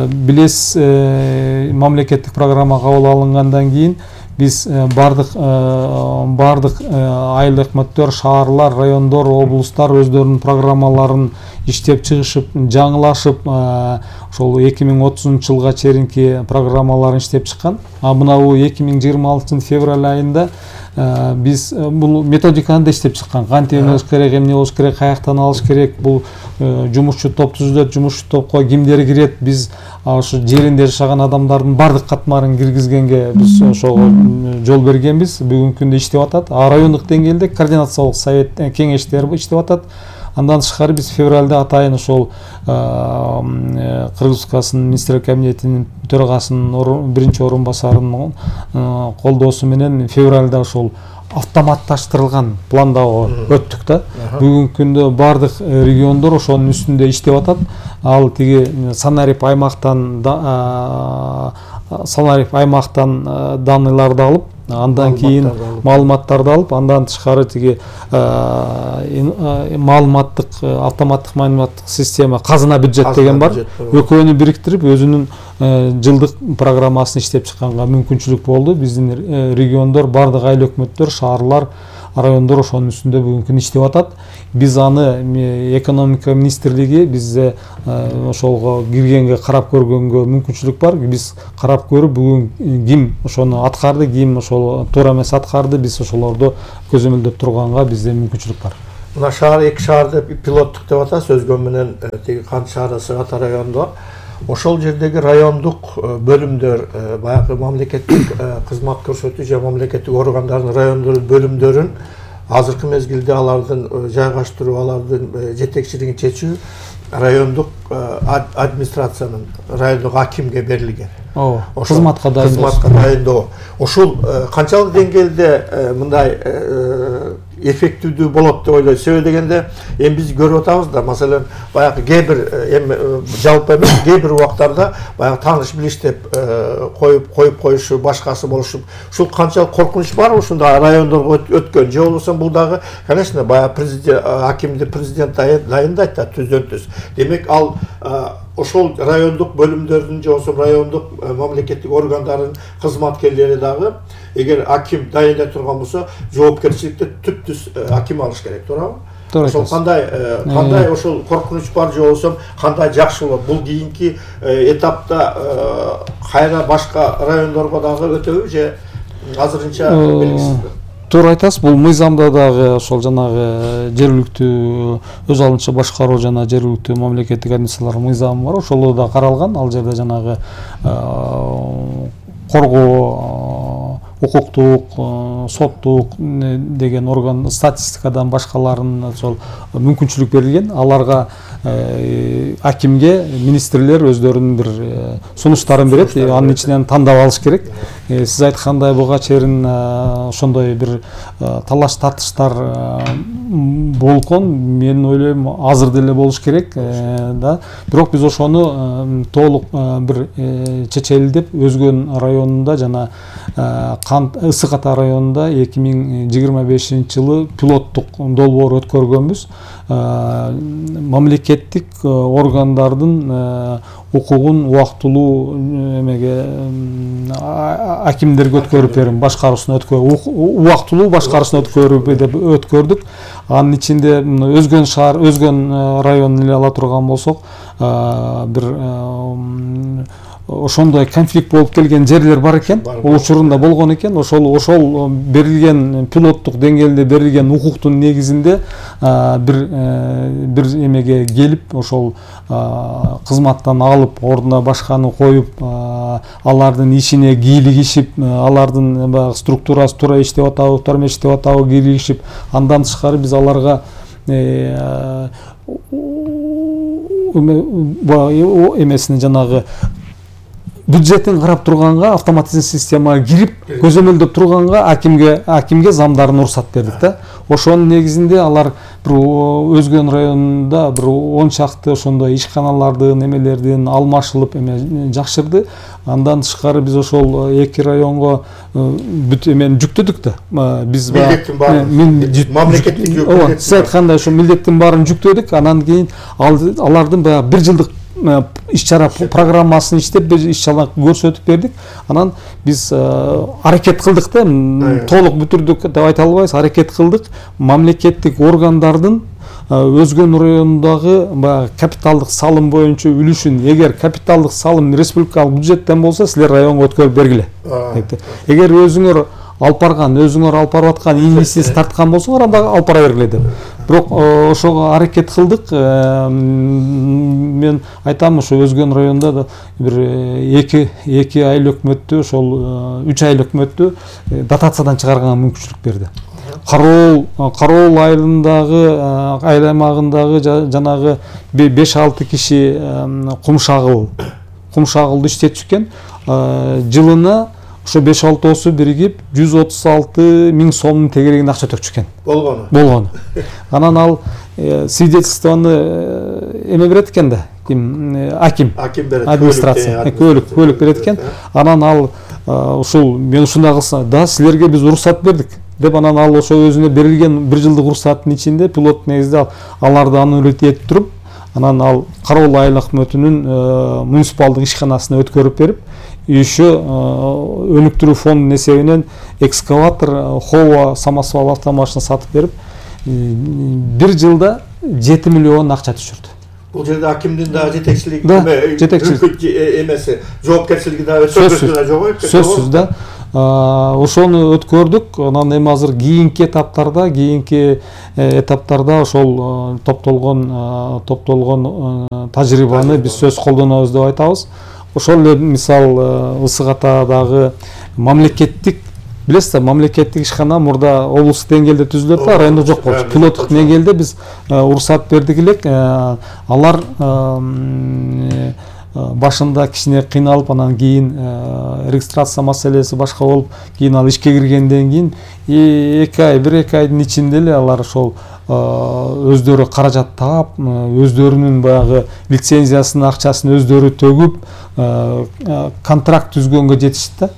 билесиз, мамлекеттик программа кабыл алынгандан кийин биз бардык айыл өкмөттөр, шаарлар, райондор, облустар өздөрүнүн программаларын иштеп чыгышып, жаңылашып, ошол 2030 жылга чейинки программаларын иштеп чыккан. Мына 2026 февраль айында биз бул методиканы да иштеп чыккан. Кантип эмес керек, эмне болуш керек, каяктан алыш керек, бул жумушчу топ түзүлөт, жумушчу топко кимдер кирет, биз ошо жеринде жашаган адамдардын бардык катмарын киргизгенге биз ошого жол бергенбиз. Бүгүнкү күндө иштеп атат. Райондук деңгээлде координациялык совет кеңештер иштеп атат. Андан тышкары биз февралда атайын ошол Кыргыз Республикасынын министрлер кабинетинин төрагасынын биринчи орун басарынын колдоосу менен февралда ошол автоматташтырылган пландоо өттүк да. Бүгүнкү күндө бардык региондор ошонун үстүндө иштеп атат. Ал тиги санарип аймактан данныйларды алып, андан кийин маалыматтарды алып, андан тышкары тиги автоматтык маалыматтык система казына бюджет деген бар. Экөөнү бириктирип өзүнүн жылдык программасын иштеп чыкканга мүмкүнчүлүк болду. Биздин региондор, бардык айыл өкмөттөр, шаарлар, райондор ошонун үстүндө бүгүнкү күндө иштеп атат. Биз аны экономика министрлиги бизде ошолго киргенге, карап көргөнгө мүмкүнчүлүк бар. Биз карап көрүп, бүгүн ким ошону аткарды, ким ошол туура эмес аткарды, биз ошолорду көзөмөлдөп турганга бизде мүмкүнчүлүк бар. Мына шаар, эки шаарды пилоттук деп атасыз, Өзгөн менен тиги Кант шаары, Сыгата районунда. Ошол жердеги райондук бөлүмдөр, баягы мамлекеттик кызмат көрсөтүү же мамлекеттик органдардын райондордун бөлүмдөрүн азыркы мезгилде алардын жайгаштыруу, алардын жетекчилигин чечүү райондук администрациянын, райондук акимге берилген. Кызматка дайындоо. Ошол канчалык деңгээлде мындай эффективдүү болот деп ойлойсуз? Себеби дегенде, эми биз көрүп атабыз да, маселен, баягы кээ бир жалпы эмес, кээ бир убактарда баягы тааныш билиштеп коюп коюшу, башкасы болушуп, ушул канчалык коркунуч бар ушундай райондорго өткөн? Же болбосо бул дагы, конечно, баягы президент, акимди президент дайындайт да, түздөн-түз. Демек, ал ошол райондук бөлүмдөрдүн же болбосо райондук мамлекеттик органдардын кызматкерлери дагы, эгер аким дайындай турган болсо, жоопкерчиликти түптүз аким алыш керек, туурабы? Ошол кандай ошол коркунуч бар, же болбосо кандай жакшы болот? Бул кийинки этапта кайра башка райондорго дагы өтөбү же азырынча белгисизби? Туура айтасыз, бул мыйзамда дагы ошол жанагы жергиликтүү өз алынча башкаруу жана жергиликтүү мамлекеттик администрациялар мыйзамы бар. Ошол да каралган. Ал жерде жанагы коргоо, укуктук, соттук деген орган, статистикадан башкаларын ошол мүмкүнчүлүк берилген. Аларга акимге министрлер өздөрүнүн бир сунуштарын берет, анын ичинен тандап алыш керек. Сиз айткандай буга чейин ошондой бир талаш тартыштар болгон, мен ойлойм азыр деле болуш керек да. Бирок биз ошону толук бир чечелдеп, Өзгөн районунда жана Ысык-Ата районунда 2025-жылы пилоттук долбоор өткөргөнбүз. Мамлекеттик органдардын укугун убактылуу эмеге акимдерге өткөрүп берим, башкаруусуна убактылуу башкаруусуна өткөрдүк. Анын ичинде Өзгөн шаар, Өзгөн районун эле ала турган болсок, бир ошондой конфликт болуп келген жерлер бар экен, учурунда болгон экен. Ошол берилген пилоттук деңгээлде берилген укуктун негизинде бир эмеге келип, ошол кызматтан алып, ордуна башканы коюп, алардын ишине кийлигишип, алардын баягы структурасы туура иштеп атабы, туура эмес иштеп атабы кийлигишип, андан тышкары биз аларга эмесине жанагы бюджеттин карап турганга, автоматизм системага кирип, көзөмөлдөп турганга акимге замдарын уруксат бердик да. Ошонун негизинде алар бир Өзгөн районунда бир 10 чакты ошондой ишканалардын эмелердин алмашылып жакшырды. Андан тышкары биз ошол эки районго бүт эмени жүктөдүк да. Биз мамлекеттик сиз айткандай ошо милдеттин баарын жүктөдүк. Анан кийин алардын баягы бир жылдык иш-чара программасын иштеп, иш-чара көрсөтүп бердик. Анан биз аракет кылдык да, толук бүтүрдүк деп айта албайбыз, аракет кылдык. Мамлекеттик органдардын Өзгөн районундагы капиталдык салым боюнча үлүшүн, эгер капиталдык салым республикалык бюджеттен болсо, силер районго өткөрүп бергиле. Эгер өзүңөр алып барып аткан инвестиция тарткан болсоңор, анда алып бара бергиле деп. Бирок ошого аракет кылдык. Мен айтам, ошо Өзгөн районунда да бир 2 айыл өкмөттү, ошол 3 айыл өкмөттү дотациядан чыгарганга мүмкүнчүлүк берди. Кароол айылындагы айыл аймагындагы жанагы 5-6 киши кумшагылды иштетишкен. Жылына ошо 5-6 биригип 136 миң сомдун тегерегинде акча төкчүшкен. Болгону. Анан ал свидетельствону эме берет экен да. Аким берет. Администрация. Көлүк берет экен. Анан ал ушул мен ушундай кылсам, да силерге биз уруксат бердик деп, анан ал ошо өзүнө берилген 1 жылдык уруксаттын ичинде пилот негизде аларды аннулить этип туруп, анан ал Кароол айыл өкмөтүнүн муниципалдык ишканасына өткөрүп берип, еще өнүктүрүү фондунун эсебинен экскаватор, Хова самосвал автомашина сатып берип, 1 жылда 7 миллион акча түшүрдү. Бул жерде акимдин да жетекчилиги эмеси, жоопкерчилиги да сөзсүз да. Ошону өткөрдүк. Анан эми азыр кийинки этаптарда ошол топтолгон тажрыйбаны биз сөз колдонобуз деп айтабыз. Ошол эле мисал Ысык Атадагы мамлекеттик, билесиз, мамлекеттик ишкана мурда облустук деңгээлде түзүлөт да, райондо жок болчу. Пилоттук деңгээлде биз уруксат бердик элек. Алар башында кичине кыйналып, анан кийин регистрация маселеси башка болуп, кийин ал ишке киргенден кийин 1-2 айдын ичинде эле алар ошол өздөрү каражат таап, өздөрүнүн баягы лицензиясынын акчасын өздөрү төгүп, контракт түзгөнгө жетишти да.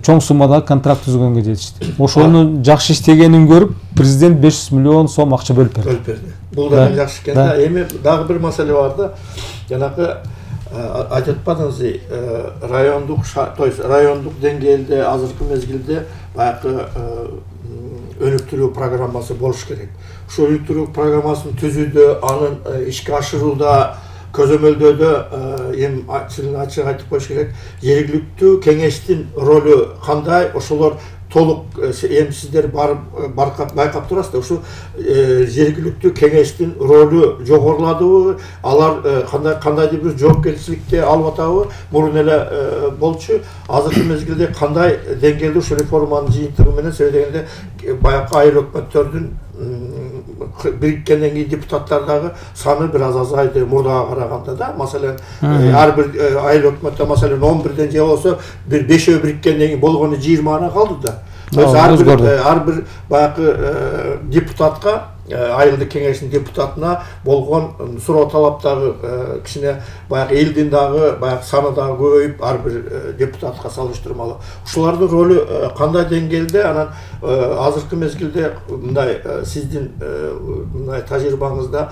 Чоң суммадагы контракт түзгөнгө жетишти. Ошону жакшы иштегенин көрүп, президент 500 миллион сом акча бөлүп берди. Бул да жакшы экен да. Эми дагы бир маселе бар да. Жанагы айтып атпадыңыз, райондук деңгээлде азыркы мезгилде баягы өнүктүрүү программасы болуш керек. Ошол өнүктүрүү программасын түзүүдө, анын ишке ашырууда, көзөмөлдөөдө эми ачык айтып коюш керек. Жергиликтүү кеңештин ролу кандай? Ошолор толук эми сиздер байкап турасыздар. Ушу жергиликтүү кеңештин ролу жогоруладыбы? Алар кандайдыр бир жоопкерчиликти алып атабы? Мурун эле болчу. Азыркы мезгилде кандай деңгээлде ушу реформанын жыйынтыгы менен сөйдөгөндө баягы айыл өкмөттөрдүн бириккенден кийин депутаттардагы саны бир аз азайды мурдага караганда да. Маселен, ар бир айыл өкмөттө маселен 11ден же болсо бир 5 бириккенден кийин болгону 20 калды да. Ар бир баягы депутатка, айылдык кеңештин депутатына болгон суроо талаптагы кичине баягы элдин дагы баягы саны дагы көбөйүп, ар бир депутатка салыштырмалуу. Ушулардын ролу кандай деңгээлде? Анан азыркы мезгилде мындай сиздин мындай тажрыйбаңызда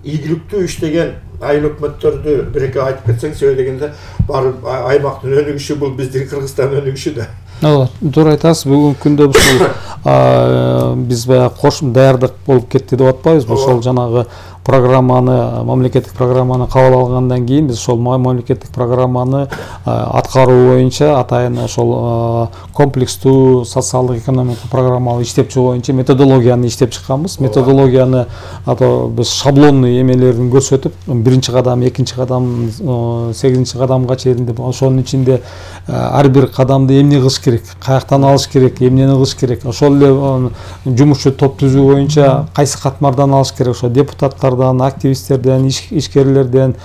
ийгиликтүү иштеген айыл өкмөттөрдү бир-эки айтып кетсеңиз, себеби дегенде баары аймактын өнүгүшү бул биздин Кыргызстандын өнүгүшү да. Туура айтасыз. Бүгүнкү күндө ушул биз баягы кош даярдык болуп кетти деп атпайбызбы? Ошол жанагы программаны, мамлекеттик программаны кабыл алгандан кийин биз ошол мамлекеттик программаны аткаруу боюнча атайын ошол комплекстүү социалдык экономикалык программалар иштепчү боюнча методологияны иштеп чыкканбыз. Методологияны биз шаблонный эмелерин көрсөтүп, 1-кадам, 2-кадам, 8-кадамга чейин деп, ошонун ичинде ар бир кадамды эмне кылыш керек, каяктан алыш керек, эмнени кылыш керек, ошол эле жумушчу топ түзүү боюнча кайсы катмардан алыш керек, ошо депутаттар, активисттерден, ишкерлерден,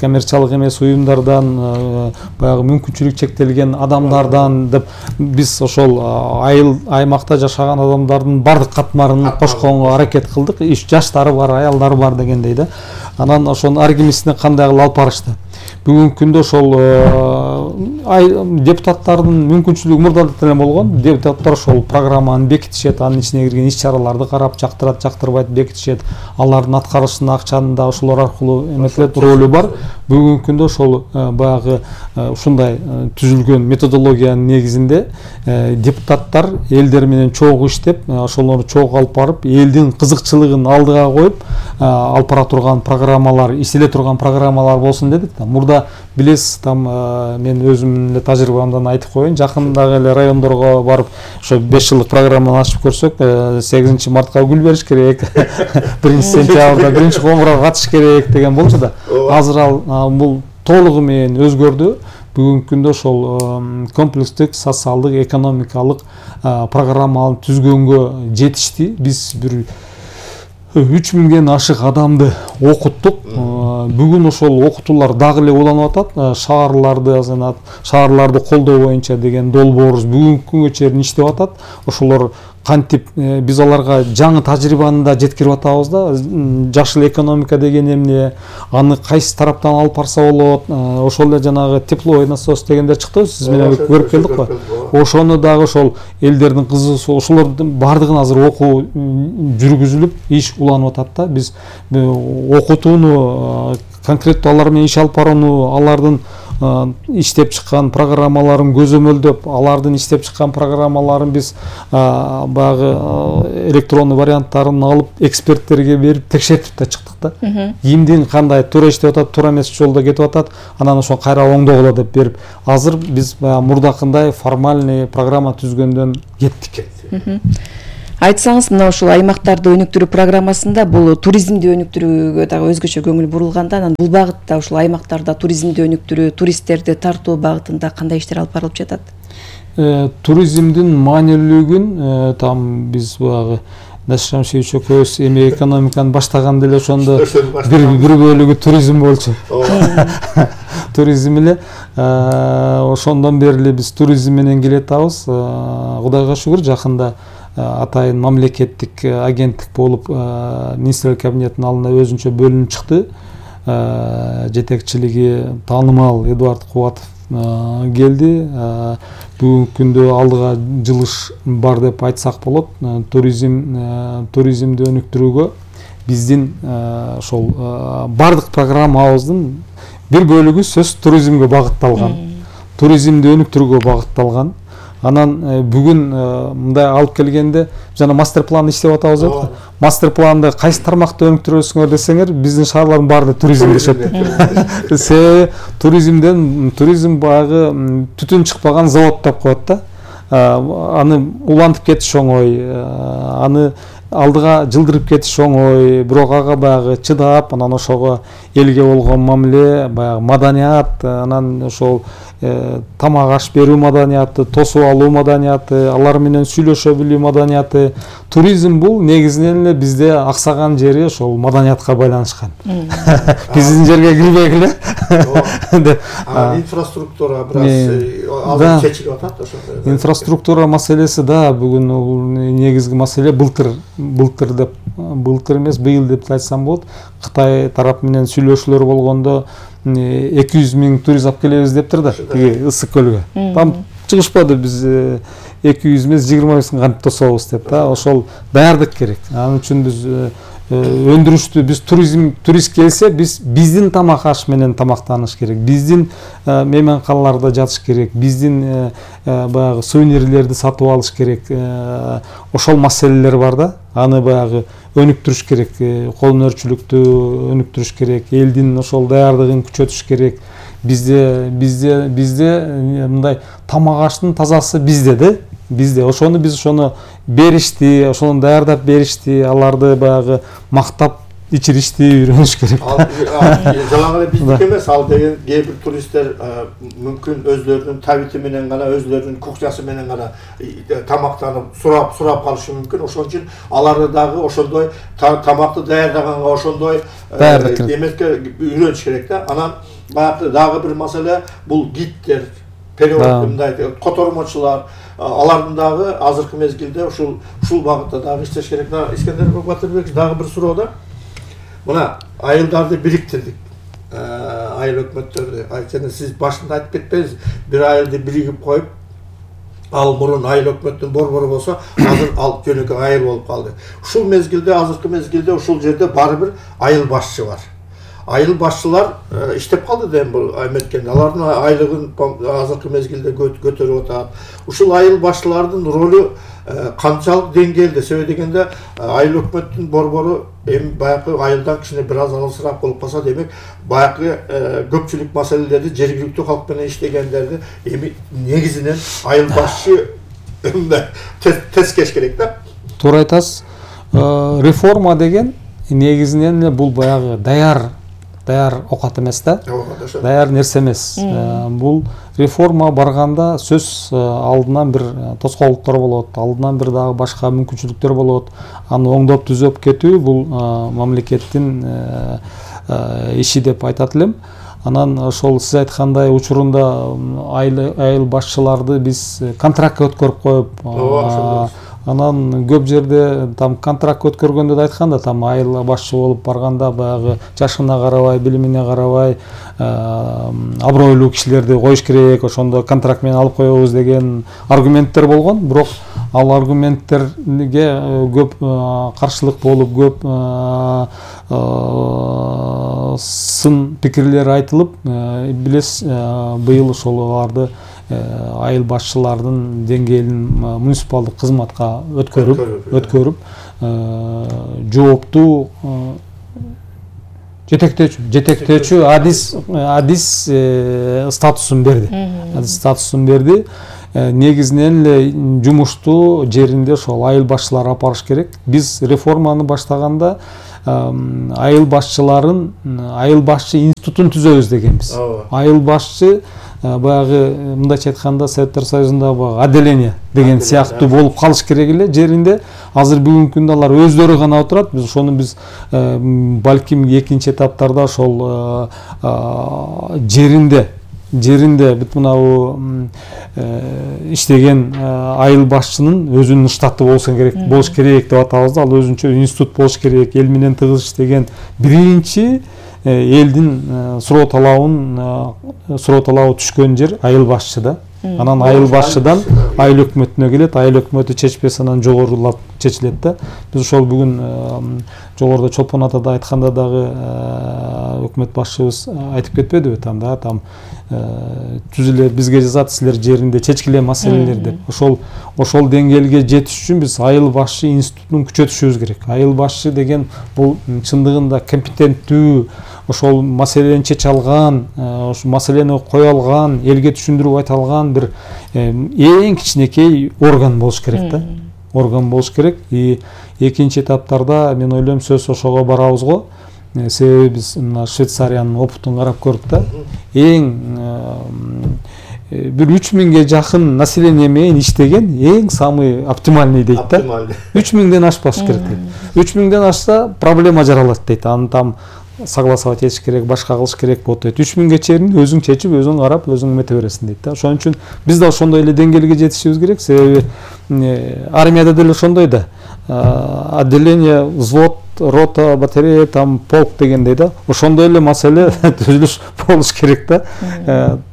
коммерциялык эмес уюмдардан, баягы мүмкүнчүлүк чектелген адамдардан деп биз ошол айыл аймакта жашаган адамдардын бардык катмарын кошконго аракет кылдык. Жаштары бар, аялдары бар дегендей да. Анан ошонун ар кимисине кандай кылып алып барышты. Бүгүнкү күндө ошол депутаттардын мүмкүнчүлүгү мурда деле болгон. Депутаттар ошол программаны бекитишет, анын ичине кирген иш-чараларды карап, жактырат, жактырбайт бекитишет. Алардын аткарышына акчаны да ошолор аркылуу эметилет, ролу бар. Бүгүнкү күндө ошол баягы ушундай түзүлгөн методологиянын негизинде депутаттар элдер менен чогуу иштеп, ошолорду чогуу алып барып, элдин кызыкчылыгын алдыга коюп, алып бара турган программалар, иштеле турган программалар болсун дедик да. Мурда билесиз, там мен өзүмдүн эле тажрыйбамдан айтып коеюн, жакындагы эле райондорго барып, ошо 5 жылдык программаны ачып көрсөк, 8 мартка гүл бериш керек, 1-сентябрда 1-комурга катыш керек деген болчу да. Азыр ал бул толугу менен өзгөрдү. бүгүнкү күндө ошол комплекстик социалдык экономикалык программаны түзгөнгө жетишти. Биз бир 3000ден ашык адамды окуттук. Бүгүн ошол окутуулар дагы эле уланып атат. Шаарларды колдоо боюнча деген долбоорубуз бүгүнкү күнгө чейин иштеп атат. Ошолор кантип биз аларга жаңы тажрыйбаны да жеткирип атабыз да. Жашыл экономика деген эмне, аны кайсы тараптан алып барса болот. Ошол эле жанагы тепловой насос дегендер чыкты, сиз менен көрүп келдик го. Ошону дагы ошол элдердин кызыгуусу, ошолордун бардыгын азыр окуу жүргүзүлүп, иш уланып атат да. Биз окутууну, конкреттүү алар менен иш алып барууну, алардын иштеп чыккан программаларын көзөмөлдөп, алардын иштеп чыккан программаларын биз баягы электрондуу варианттарын алып эксперттерге берип текшертип да чыктык да. Кимдин кандай туура иштеп атат, туура эмес жолдо кетип атат, анан ошо кайра оңдогула деп берип, азыр биз мурдакындай формальный программа түзгөндөн кеттик. Айтсаңыз, мына ушул аймактарды өнүктүрүү программасында бул туризмди өнүктүрүүгө дагы өзгөчө көңүл бурулганда, анан бул багытта ушул аймактарда туризмди өнүктүрүү, туристтерди тартуу багытында кандай иштер алып барылып жатат? Туризмдин маанилүүлүгүн там биз баягы Насир Шамшиевич экөөбүз эми экономиканы баштаганда эле ошондо бир бөлүгү туризм болчу. Туризм эле ошондон бери эле биз туризм менен келатабыз. Кудайга шүгүр, жакында атайын мамлекеттик агенттик болуп министрлер кабинетинин алдына өзүнчө бөлүнүп чыкты. Жетекчилиги таанымал Эдуард Кубатов келди. Бүгүнкү күндө алдыга жылыш бар деп айтсак болот. Туризмди өнүктүрүүгө биздин ошол бардык программабыздын бир бөлүгү сөз туризмге багытталган. Туризмди өнүктүрүүгө багытталган. Анан бүгүн мындай алып келгенде жана мастер план иштеп атабыз деп. Мастер планды кайсы тармакты өнүктүрөсүңөр десеңер, биздин шаарлардын баарында туризм дешет. Себеби туризм баягы түтүн чыкпаган завод деп коет да. Аны улантып кетиш оңой, аны алдыга жылдырып кетиш оңой, бирок ага баягы чыдап, анан ошого элге болгон мамиле, баягы маданият, анан ошол тамак аш берүү маданияты, тосуп алуу маданияты, алар менен сүйлөшө билүү маданияты. Туризм бул негизинен эле бизде аксаган жери ошол маданиятка байланышкан. Биздин жерге кирбей эле. Инфраструктура бираз азыр чечилип атат ошо. Инфраструктура маселеси да бүгүн негизги маселе. Былтыр эмес, быйыл деп айтсам болот. Кытай тарап менен сүйлөшүүлөр болгондо 200 000 турист алып келебиз дептир да, тиги Ысык көлгө. Там чыгышпады, биз 200 эмес 25 000 кантип тособуз деп да. Ошол даярдык керек. Анын үчүн биз өндүрүштү, биз турист келсе, биздин тамак аш менен тамактаныш керек. Биздин мейманканаларда жатыш керек. Биздин баягы сувенирлерди сатып алыш керек. Ошол маселелер бар да. Аны баягы өнүктүрүш керек, колөнөрчүлүктү өнүктүрүш керек, элдин ошол даярдыгын күчөтүш керек. Бизде мындай тамак аштын тазасы bizde. Ошону биз беришти, ошону даярдап беришти, аларды баягы мактап ичиришти, үйрөнүш керек. Жалаң эле биздики эмес, ал деген кээ бир туристтер мүмкүн өзлөрүнүн табити менен гана, өзлөрүнүн кухнясы менен гана тамактанып сурап калышы мүмкүн. Ошон үчүн аларды дагы ошондой тамакты даярдаганга ошондой эмеске үйрөнүш керек да. Анан баягы дагы бир маселе бул гидтер, перевод мындай котормочулар, алардын дагы азыркы мезгилде ушул багытта дагы иштеш керек. Искендер Батырбекович, дагы бир суроо да. Мына айылдарды бириктирдик. Айыл өкмөттөрдү. Жана сиз башында айтып кетпеңиз, бир айылды биригип коюп, ал мурун айыл өкмөттүн борбору болсо, азыр ал жөнөкөй айыл болуп калды. Ушул мезгилде, азыркы мезгилде ушул жерде баары бир айыл башчы бар. Айыл башчылар иштеп калды дейм бул эметкенде. Алардын айлыгын азыркы мезгилде көтөрүп атат. Ушул айыл башчылардын ролу канчалык деңгээлде? Себеби дегенде айыл өкмөттүн борбору эми баягы айылдан кичине бир аз алысыраак болуп калса, демек баягы көпчүлүк маселелерди жергиликтүү калк менен иштегендерди эми негизинен айыл башчы тескеш керек да. Туура айтасыз. Реформа деген негизинен бул баягы даяр даяр оокат эмес да, даяр нерсе эмес. Бул реформа барганда сөз алдынан бир тоскоолдуктар болот, алдынан бир дагы башка мүмкүнчүлүктөр болот. Аны оңдоп түзөп кетүү бул мамлекеттин иши деп айтат элем. Анан ошол сиз айткандай учурунда айыл башчыларды биз контрактка өткөрүп коюп, анан көп жерде там контракт өткөргөндө да айткан да, там айыл башчы болуп барганда баягы жашына карабай, билимине карабай абройлуу кишилерди коюш керек, ошондо контракт менен алып коебуз деген аргументтер болгон. Бирок ал аргументтерге көп каршылык болуп, көп сын пикирлер айтылып, билесиз, быйыл ошол аларды айыл башчылардын деңгээлин муниципалдык кызматка өткөрүп жооптуу жетектөөчү адис статусун берди. Негизинен эле жумушту жеринде ошол айыл башчылары алып барыш керек. Биз реформаны баштаганда айыл башчы институтун түзөбүз дегенбиз. Айыл башчы баягы мындайча айтканда Советтер Союзунда отделение деген сыяктуу болуп калыш керек эле жеринде. Азыр бүгүнкү күндө алар өздөрү гана отурат. Биз ошону балким экинчи этаптарда ошол жеринде бүт мынабу иштеген айыл башчынын өзүнүн штаты болуш керек деп атабыз да. Ал өзүнчө институт болуш керек. Эл менен тыгыз иштеген биринчи элдин суроо талабы түшкөн жер айыл башчы да. Анан айыл башчыдан айыл өкмөтүнө келет, айыл өкмөтү чечпесе анан жогорулап чечилет да. Биз ошол бүгүн жогоруда Чолпон атада айтканда дагы өкмөт башчыбыз айтып кетпедиби там да, там түзүлө бизге жазат, силер жеринде чечкиле маселелер деп. Ошол деңгээлге жетиш үчүн биз айыл башчы институтун күчөтүшүбүз керек. Айыл башчы деген бул чындыгында компетенттүү, ошол маселени чече алган, ошол маселени кое алган, элге түшүндүрүп айта алган бир эң кичинекей орган болуш керек да. Орган болуш керек. Экинчи этаптарда мен ойлойм сөз ошого барабыз го. Себеби биз мына Швейцариянын опытын карап көрдүк да. Эң бир 3000ге жакын население менен иштеген эң самый оптимальный дейт да. 3000ден ашпаш керек дейт. 3000ден ашса проблема жаралат дейт. Аны там согласовать этиш керек, башка кылыш керек болот дейт. 3000ге чейин өзүң чечип, өзүң карап, өзүң эмете бересиң дейт да. Ошон үчүн биз да ошондой эле деңгээлге жетишибиз керек. Себеби армияда деле ошондой да. Отделение, взвод, рота, батарея, там полк дегендей да. Ошондой эле маселе түзүлүш болуш керек да.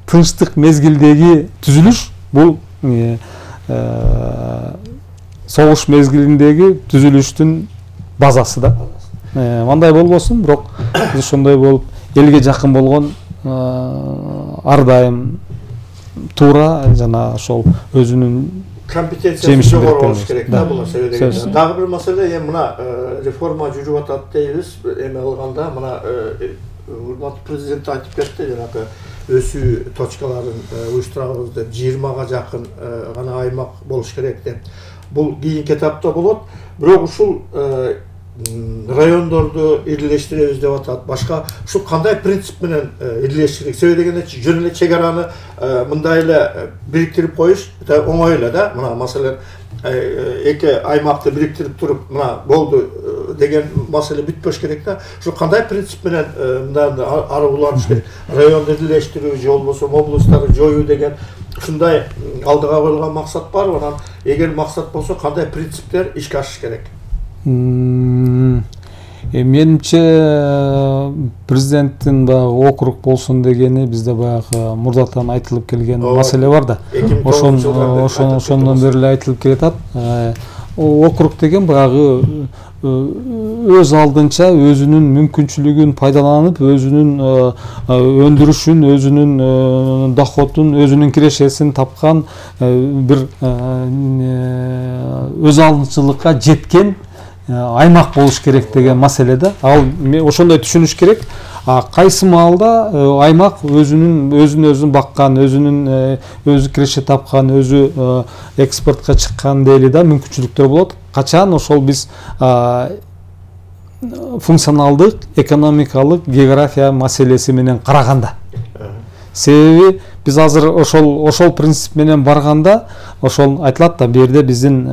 Тынчтык мезгилдеги түзүлүш бул согуш мезгилиндеги түзүлүштүн базасы да. Мындай болбосун, бирок биз ошондой болуп элге жакын болгон ар дайым туура жана ошол өзүнүн компетенциясы жогору болуш керек да бул маселеде. Дагы бир маселе мына реформа жүрүп атат дейбиз. Эме кылганда мына урматтуу президент айтып кетти, жанагы өсүү точкаларын уюштурабыз деп 20га жакын гана аймак болуш керек деп. Бул кийинки этапта болот. Бирок ушул райондорду ирилештиребиз деп атат. Башка ушул кандай принцип менен ирилештирик? Себеби дегенде жөн эле чек араны мындай эле бириктирип коюш оңой эле да. Мына маселен эки аймакты бириктирип туруп мына болду деген маселе бүтпөш керек да. Ушул кандай принцип менен мындай ары уланыш керек? Районду ирилештирүү же болбосо облустарды жоюу деген ушундай алдыга коюлган максат барбы? Анан эгер максат болсо кандай принциптер ишке ашыш керек? Менимче президенттин баягы округ болсун дегени бизде баягы мурдатан айтылып келген маселе бар да. Ошондон бери эле айтылып келатат. Округ деген баягы өз алдынча өзүнүн мүмкүнчүлүгүн пайдаланып, өзүнүн өндүрүшүн, өзүнүн доходун, өзүнүн кирешесин тапкан бир өз алдынчылыкка жеткен аймак болуш керек деген маселе да. Ал ошондой түшүнүш керек. Кайсы маалда аймак өзүн баккан, өзү киреше тапкан, өзү экспортко чыккан дейли да мүмкүнчүлүктөр болот. Качан ошол биз функционалдык, экономикалык, география маселеси менен караганда. Себеби биз азыр ошол принцип менен барганда, ошол айтылат да, бу жерде биздин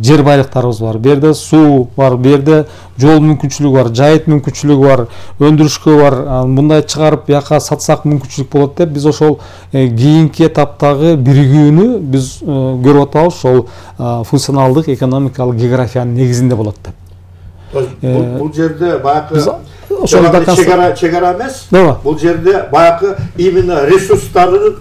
жер байлыктарыбыз бар, бу жерде суу бар, бу жерде жол мүмкүнчүлүгү бар, жайыт мүмкүнчүлүгү бар, өндүрүшкө бар, мындай чыгарып бияка сатсак мүмкүнчүлүк болот деп, биз ошол кийинки этаптагы биригүүнү биз көрүп атабыз, ошол функционалдык, экономикалык, географиянын негизинде болот деп. Бул жерде баягы чегара эмес. Бул жерде баягы именно ресурстарды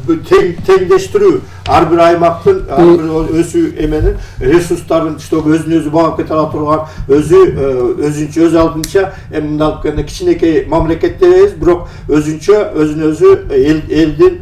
теңдештирүү, ар бир аймактын, ар бир өсүү эменин ресурстарын чтобы өзүн өзү багып кете ала турган, өзүнчө өз алдынча мындай кичинекей мамлекеттер, бирок өзүнчө өзүн өзү элдин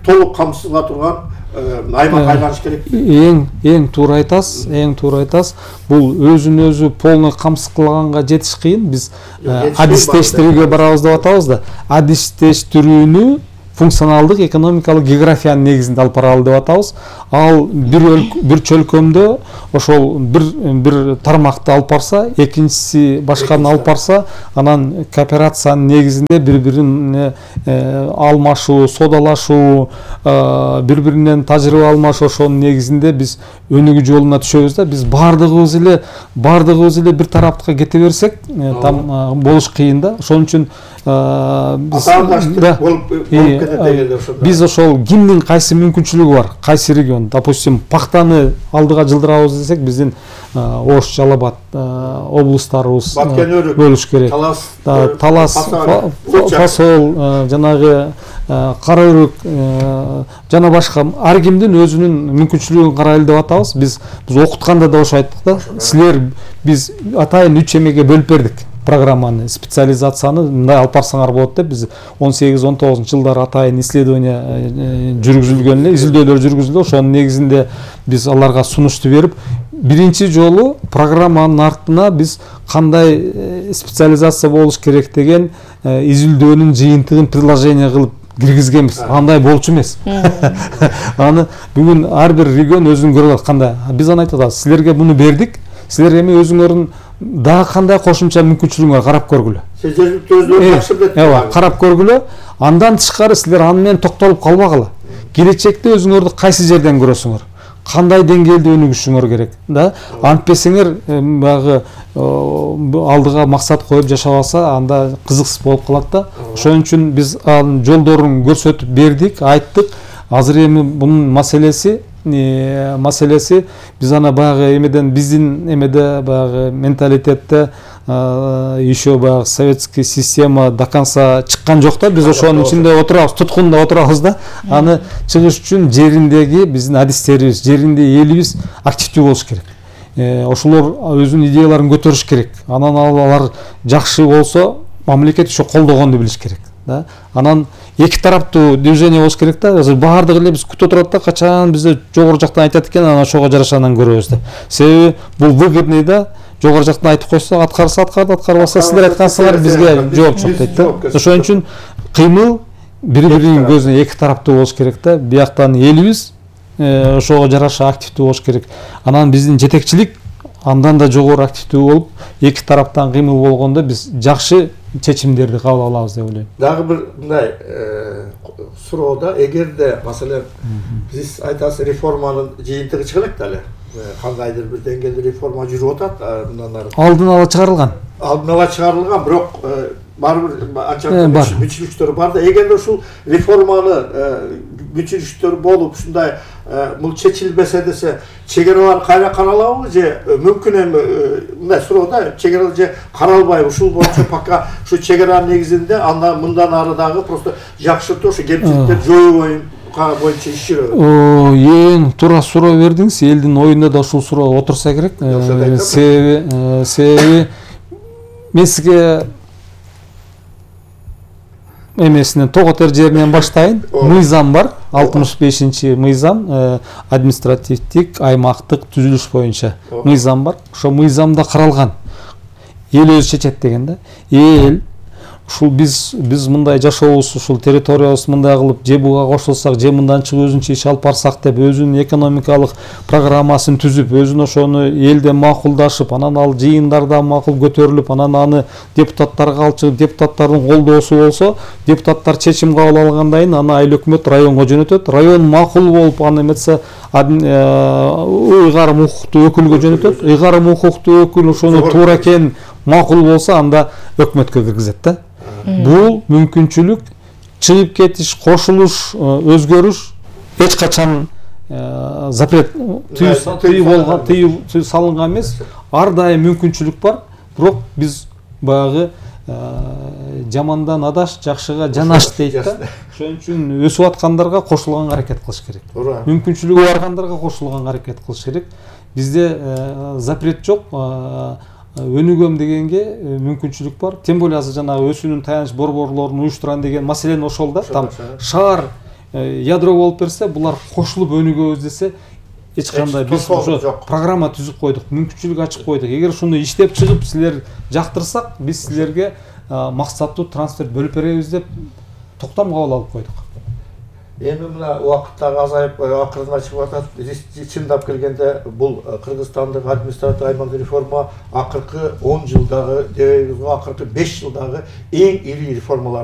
толук камсызга турган аймак айланыш керек. Эң туура айтасыз. Бул өзүн өзү полный камсыз кылганга жетиш кыйын. Биз адистештирүүгө барабыз деп атабыз да. Адистештирүүнү функционалдык, экономикалык, географиянын негизинде алып баралы деп атабыз. Ал бир чөлкөмдө ошол бир тармакты алып барса, экинчиси башканы алып барса, анан кооперациянын негизинде бири-бирине алмашуу, содалашуу, бири-биринен тажрыйба алмашуу, ошонун негизинде биз өнүгүү жолуна түшөбүз да. Биз бардыгыбыз эле бир тарапка кете берсек, там болуш кыйын да. Ошон үчүн биз ошол кимдин кайсы мүмкүнчүлүгү бар, кайсы регион, допустим, пактаны алдыга жылдырабыз десек, биздин Ош, Жалал-Абад облустарыбыз бөлүш керек. Талас, Фасол, жанагы Караөрүк жана башка ар кимдин өзүнүн мүмкүнчүлүгүн карайлы деп атабыз. Биз окутканда да ошо айттык да. Силер биз атайын 3 эмеге бөлүп бердик программаны, специализацияны мындай алып барсаңар болот деп. Биз 18-19 жылдары атайын исследование жүргүзүлгөн эле, изилдөөлөр жүргүзүлдү. Ошонун негизинде биз аларга сунушту берип, биринчи жолу программанын артына биз кандай специализация болуш керек деген изилдөөнүн жыйынтыгын предложение кылып киргизгенбиз. Андай болчу эмес. Аны бүгүн ар бир регион өзүн көрүп атат. Кандай? Биз аны айтып атабыз. Силерге муну бердик. Силер эми өзүңөрдүн дагы кандай кошумча мүмкүнчүлүгүңөр карап көргүлө. Карап көргүлө. Андан тышкары силер аны менен токтолуп калбагыла. Келечекте өзүңөрдү кайсы жерден көрөсүңөр? Кандай деңгээлде өнүгүшүңөр керек, да? Антпесеңер баягы алдыга максат коюп жашабаса, анда кызыксыз болуп калат да. Ошон үчүн биз анын жолдорун көрсөтүп бердик, айттык. Азыр эми бунун маселеси биз аны баягы эмеден биздин эмеде баягы менталитетте еще баягы советский система до конца чыккан жок да. Биз ошонун ичинде отурабыз, туткунда отурабыз да. Аны чыгыш үчүн жериндеги биздин адистерибиз, жеринде элибиз активдүү болуш керек. Ошолор өзүнүн идеяларын көтөрүш керек. Анан алар жакшы болсо, мамлекет ошо колдогонду билиш керек. Анан эки тараптуу движение болуш керек да. Азыр баардыгы эле биз күтүп турат да, качан бизде жогору жактан айтат экен, анан ошого жараша анан көрөбүз деп. Себеби бул выгодный да. Жогору жактан айтып койсо, аткарса аткарды, аткарбаса силер айткансыңар бизге жооп жок дейт да. Ошон үчүн кыймыл бири-биринин көзүнө эки тараптуу болуш керек да. Бияктан элибиз ошого жараша активдүү болуш керек. Анан биздин жетекчилик андан да жогору активдүү болуп, эки тараптан кыймыл болгондо биз жакшы чечимдерди кабыл алабыз деп ойлойм. Дагы бир мындай суроода, эгерде маселен биз айтасыз реформанын жыйынтыгы чыга элек да эле, кандайдыр бир деңгээлде реформа жүрүп атат, мындан ары алдын ала чыгарылган, бирок баары бир анча мүчүлүктөр бар да. Эгерде ушул реформаны мүчүлүктөр болуп ушундай бул чечилбесе десе, чегералар кайра каралабы же мүмкүн эми мындай суроо да, чегералар же каралбайбы? Ушул боюнча пока ушу чегеранын негизинде андан мындан ары дагы просто жакшыртуу, ушу кемчиликтерди жоюу боюнча иш жүрөбү. Эң туура суроо бердиңиз. Элдин оюнда да ушул суроо отурса керек. Себеби мен сизге эмесинен Тоготер жеринен баштайын. Мыйзам бар, 65-чи мыйзам, административдик аймактык түзүлүш боюнча мыйзам бар. Ошо мыйзамда каралган. Эл өзү чечет деген да. Эл ушул биз мындай жашообуз, ушул территориябыз мындай кылып же буга кошулсак, же мындан чыгып өзүнчө иш алып барсак деп өзүнүн экономикалык программасын түзүп, өзүн ошону элде макулдашып, анан ал жыйындарда макул көтөрүлүп, анан аны депутаттарга алып чыгып, депутаттардын колдоосу болсо, депутаттар чечим кабыл алгандан кийин аны айыл өкмөт районго жөнөтөт. Район макул болуп, аны эметсе ыйгарым укуктуу өкүлгө жөнөтөт. Ыйгарым укуктуу өкүл ошону туура экенин макул болсо, анда өкмөткө киргизет да. Бул мүмкүнчүлүк чыгып кетиш, кошулуш, өзгөрүш эч качан запрет тыюу салынган эмес. Ар дайым мүмкүнчүлүк бар. Бирок биз баягы жамандан адаш, жакшыга жанаш дейт да. Ошон үчүн өсүп аткандарга кошулганга аракет кылыш керек. Мүмкүнчүлүгү баргандарга кошулганга аракет кылыш керек. Бизде запрет жок. Өнүгөм дегенге мүмкүнчүлүк бар. Тем более азыр жанагы өсүүнүн таяныч борборлорун уюштурам деген маселен ошол да. Там шаар ядро болуп берсе, булар кошулуп өнүгөбүз десе, эч кандай биз ошо программа түзүп койдук, мүмкүнчүлүк ачып койдук. Эгер ушуну иштеп чыгып силер жактырсак, биз силерге максаттуу трансферт бөлүп беребиз деп токтом кабыл алып койдук. Эми мына убакыттагы азайып акырына чыгып атат. Чындап келгенде бул Кыргызстандык административдик аймактык реформа акыркы 10 жылдагы, акыркы 5 жылдагы эң ири реформалар.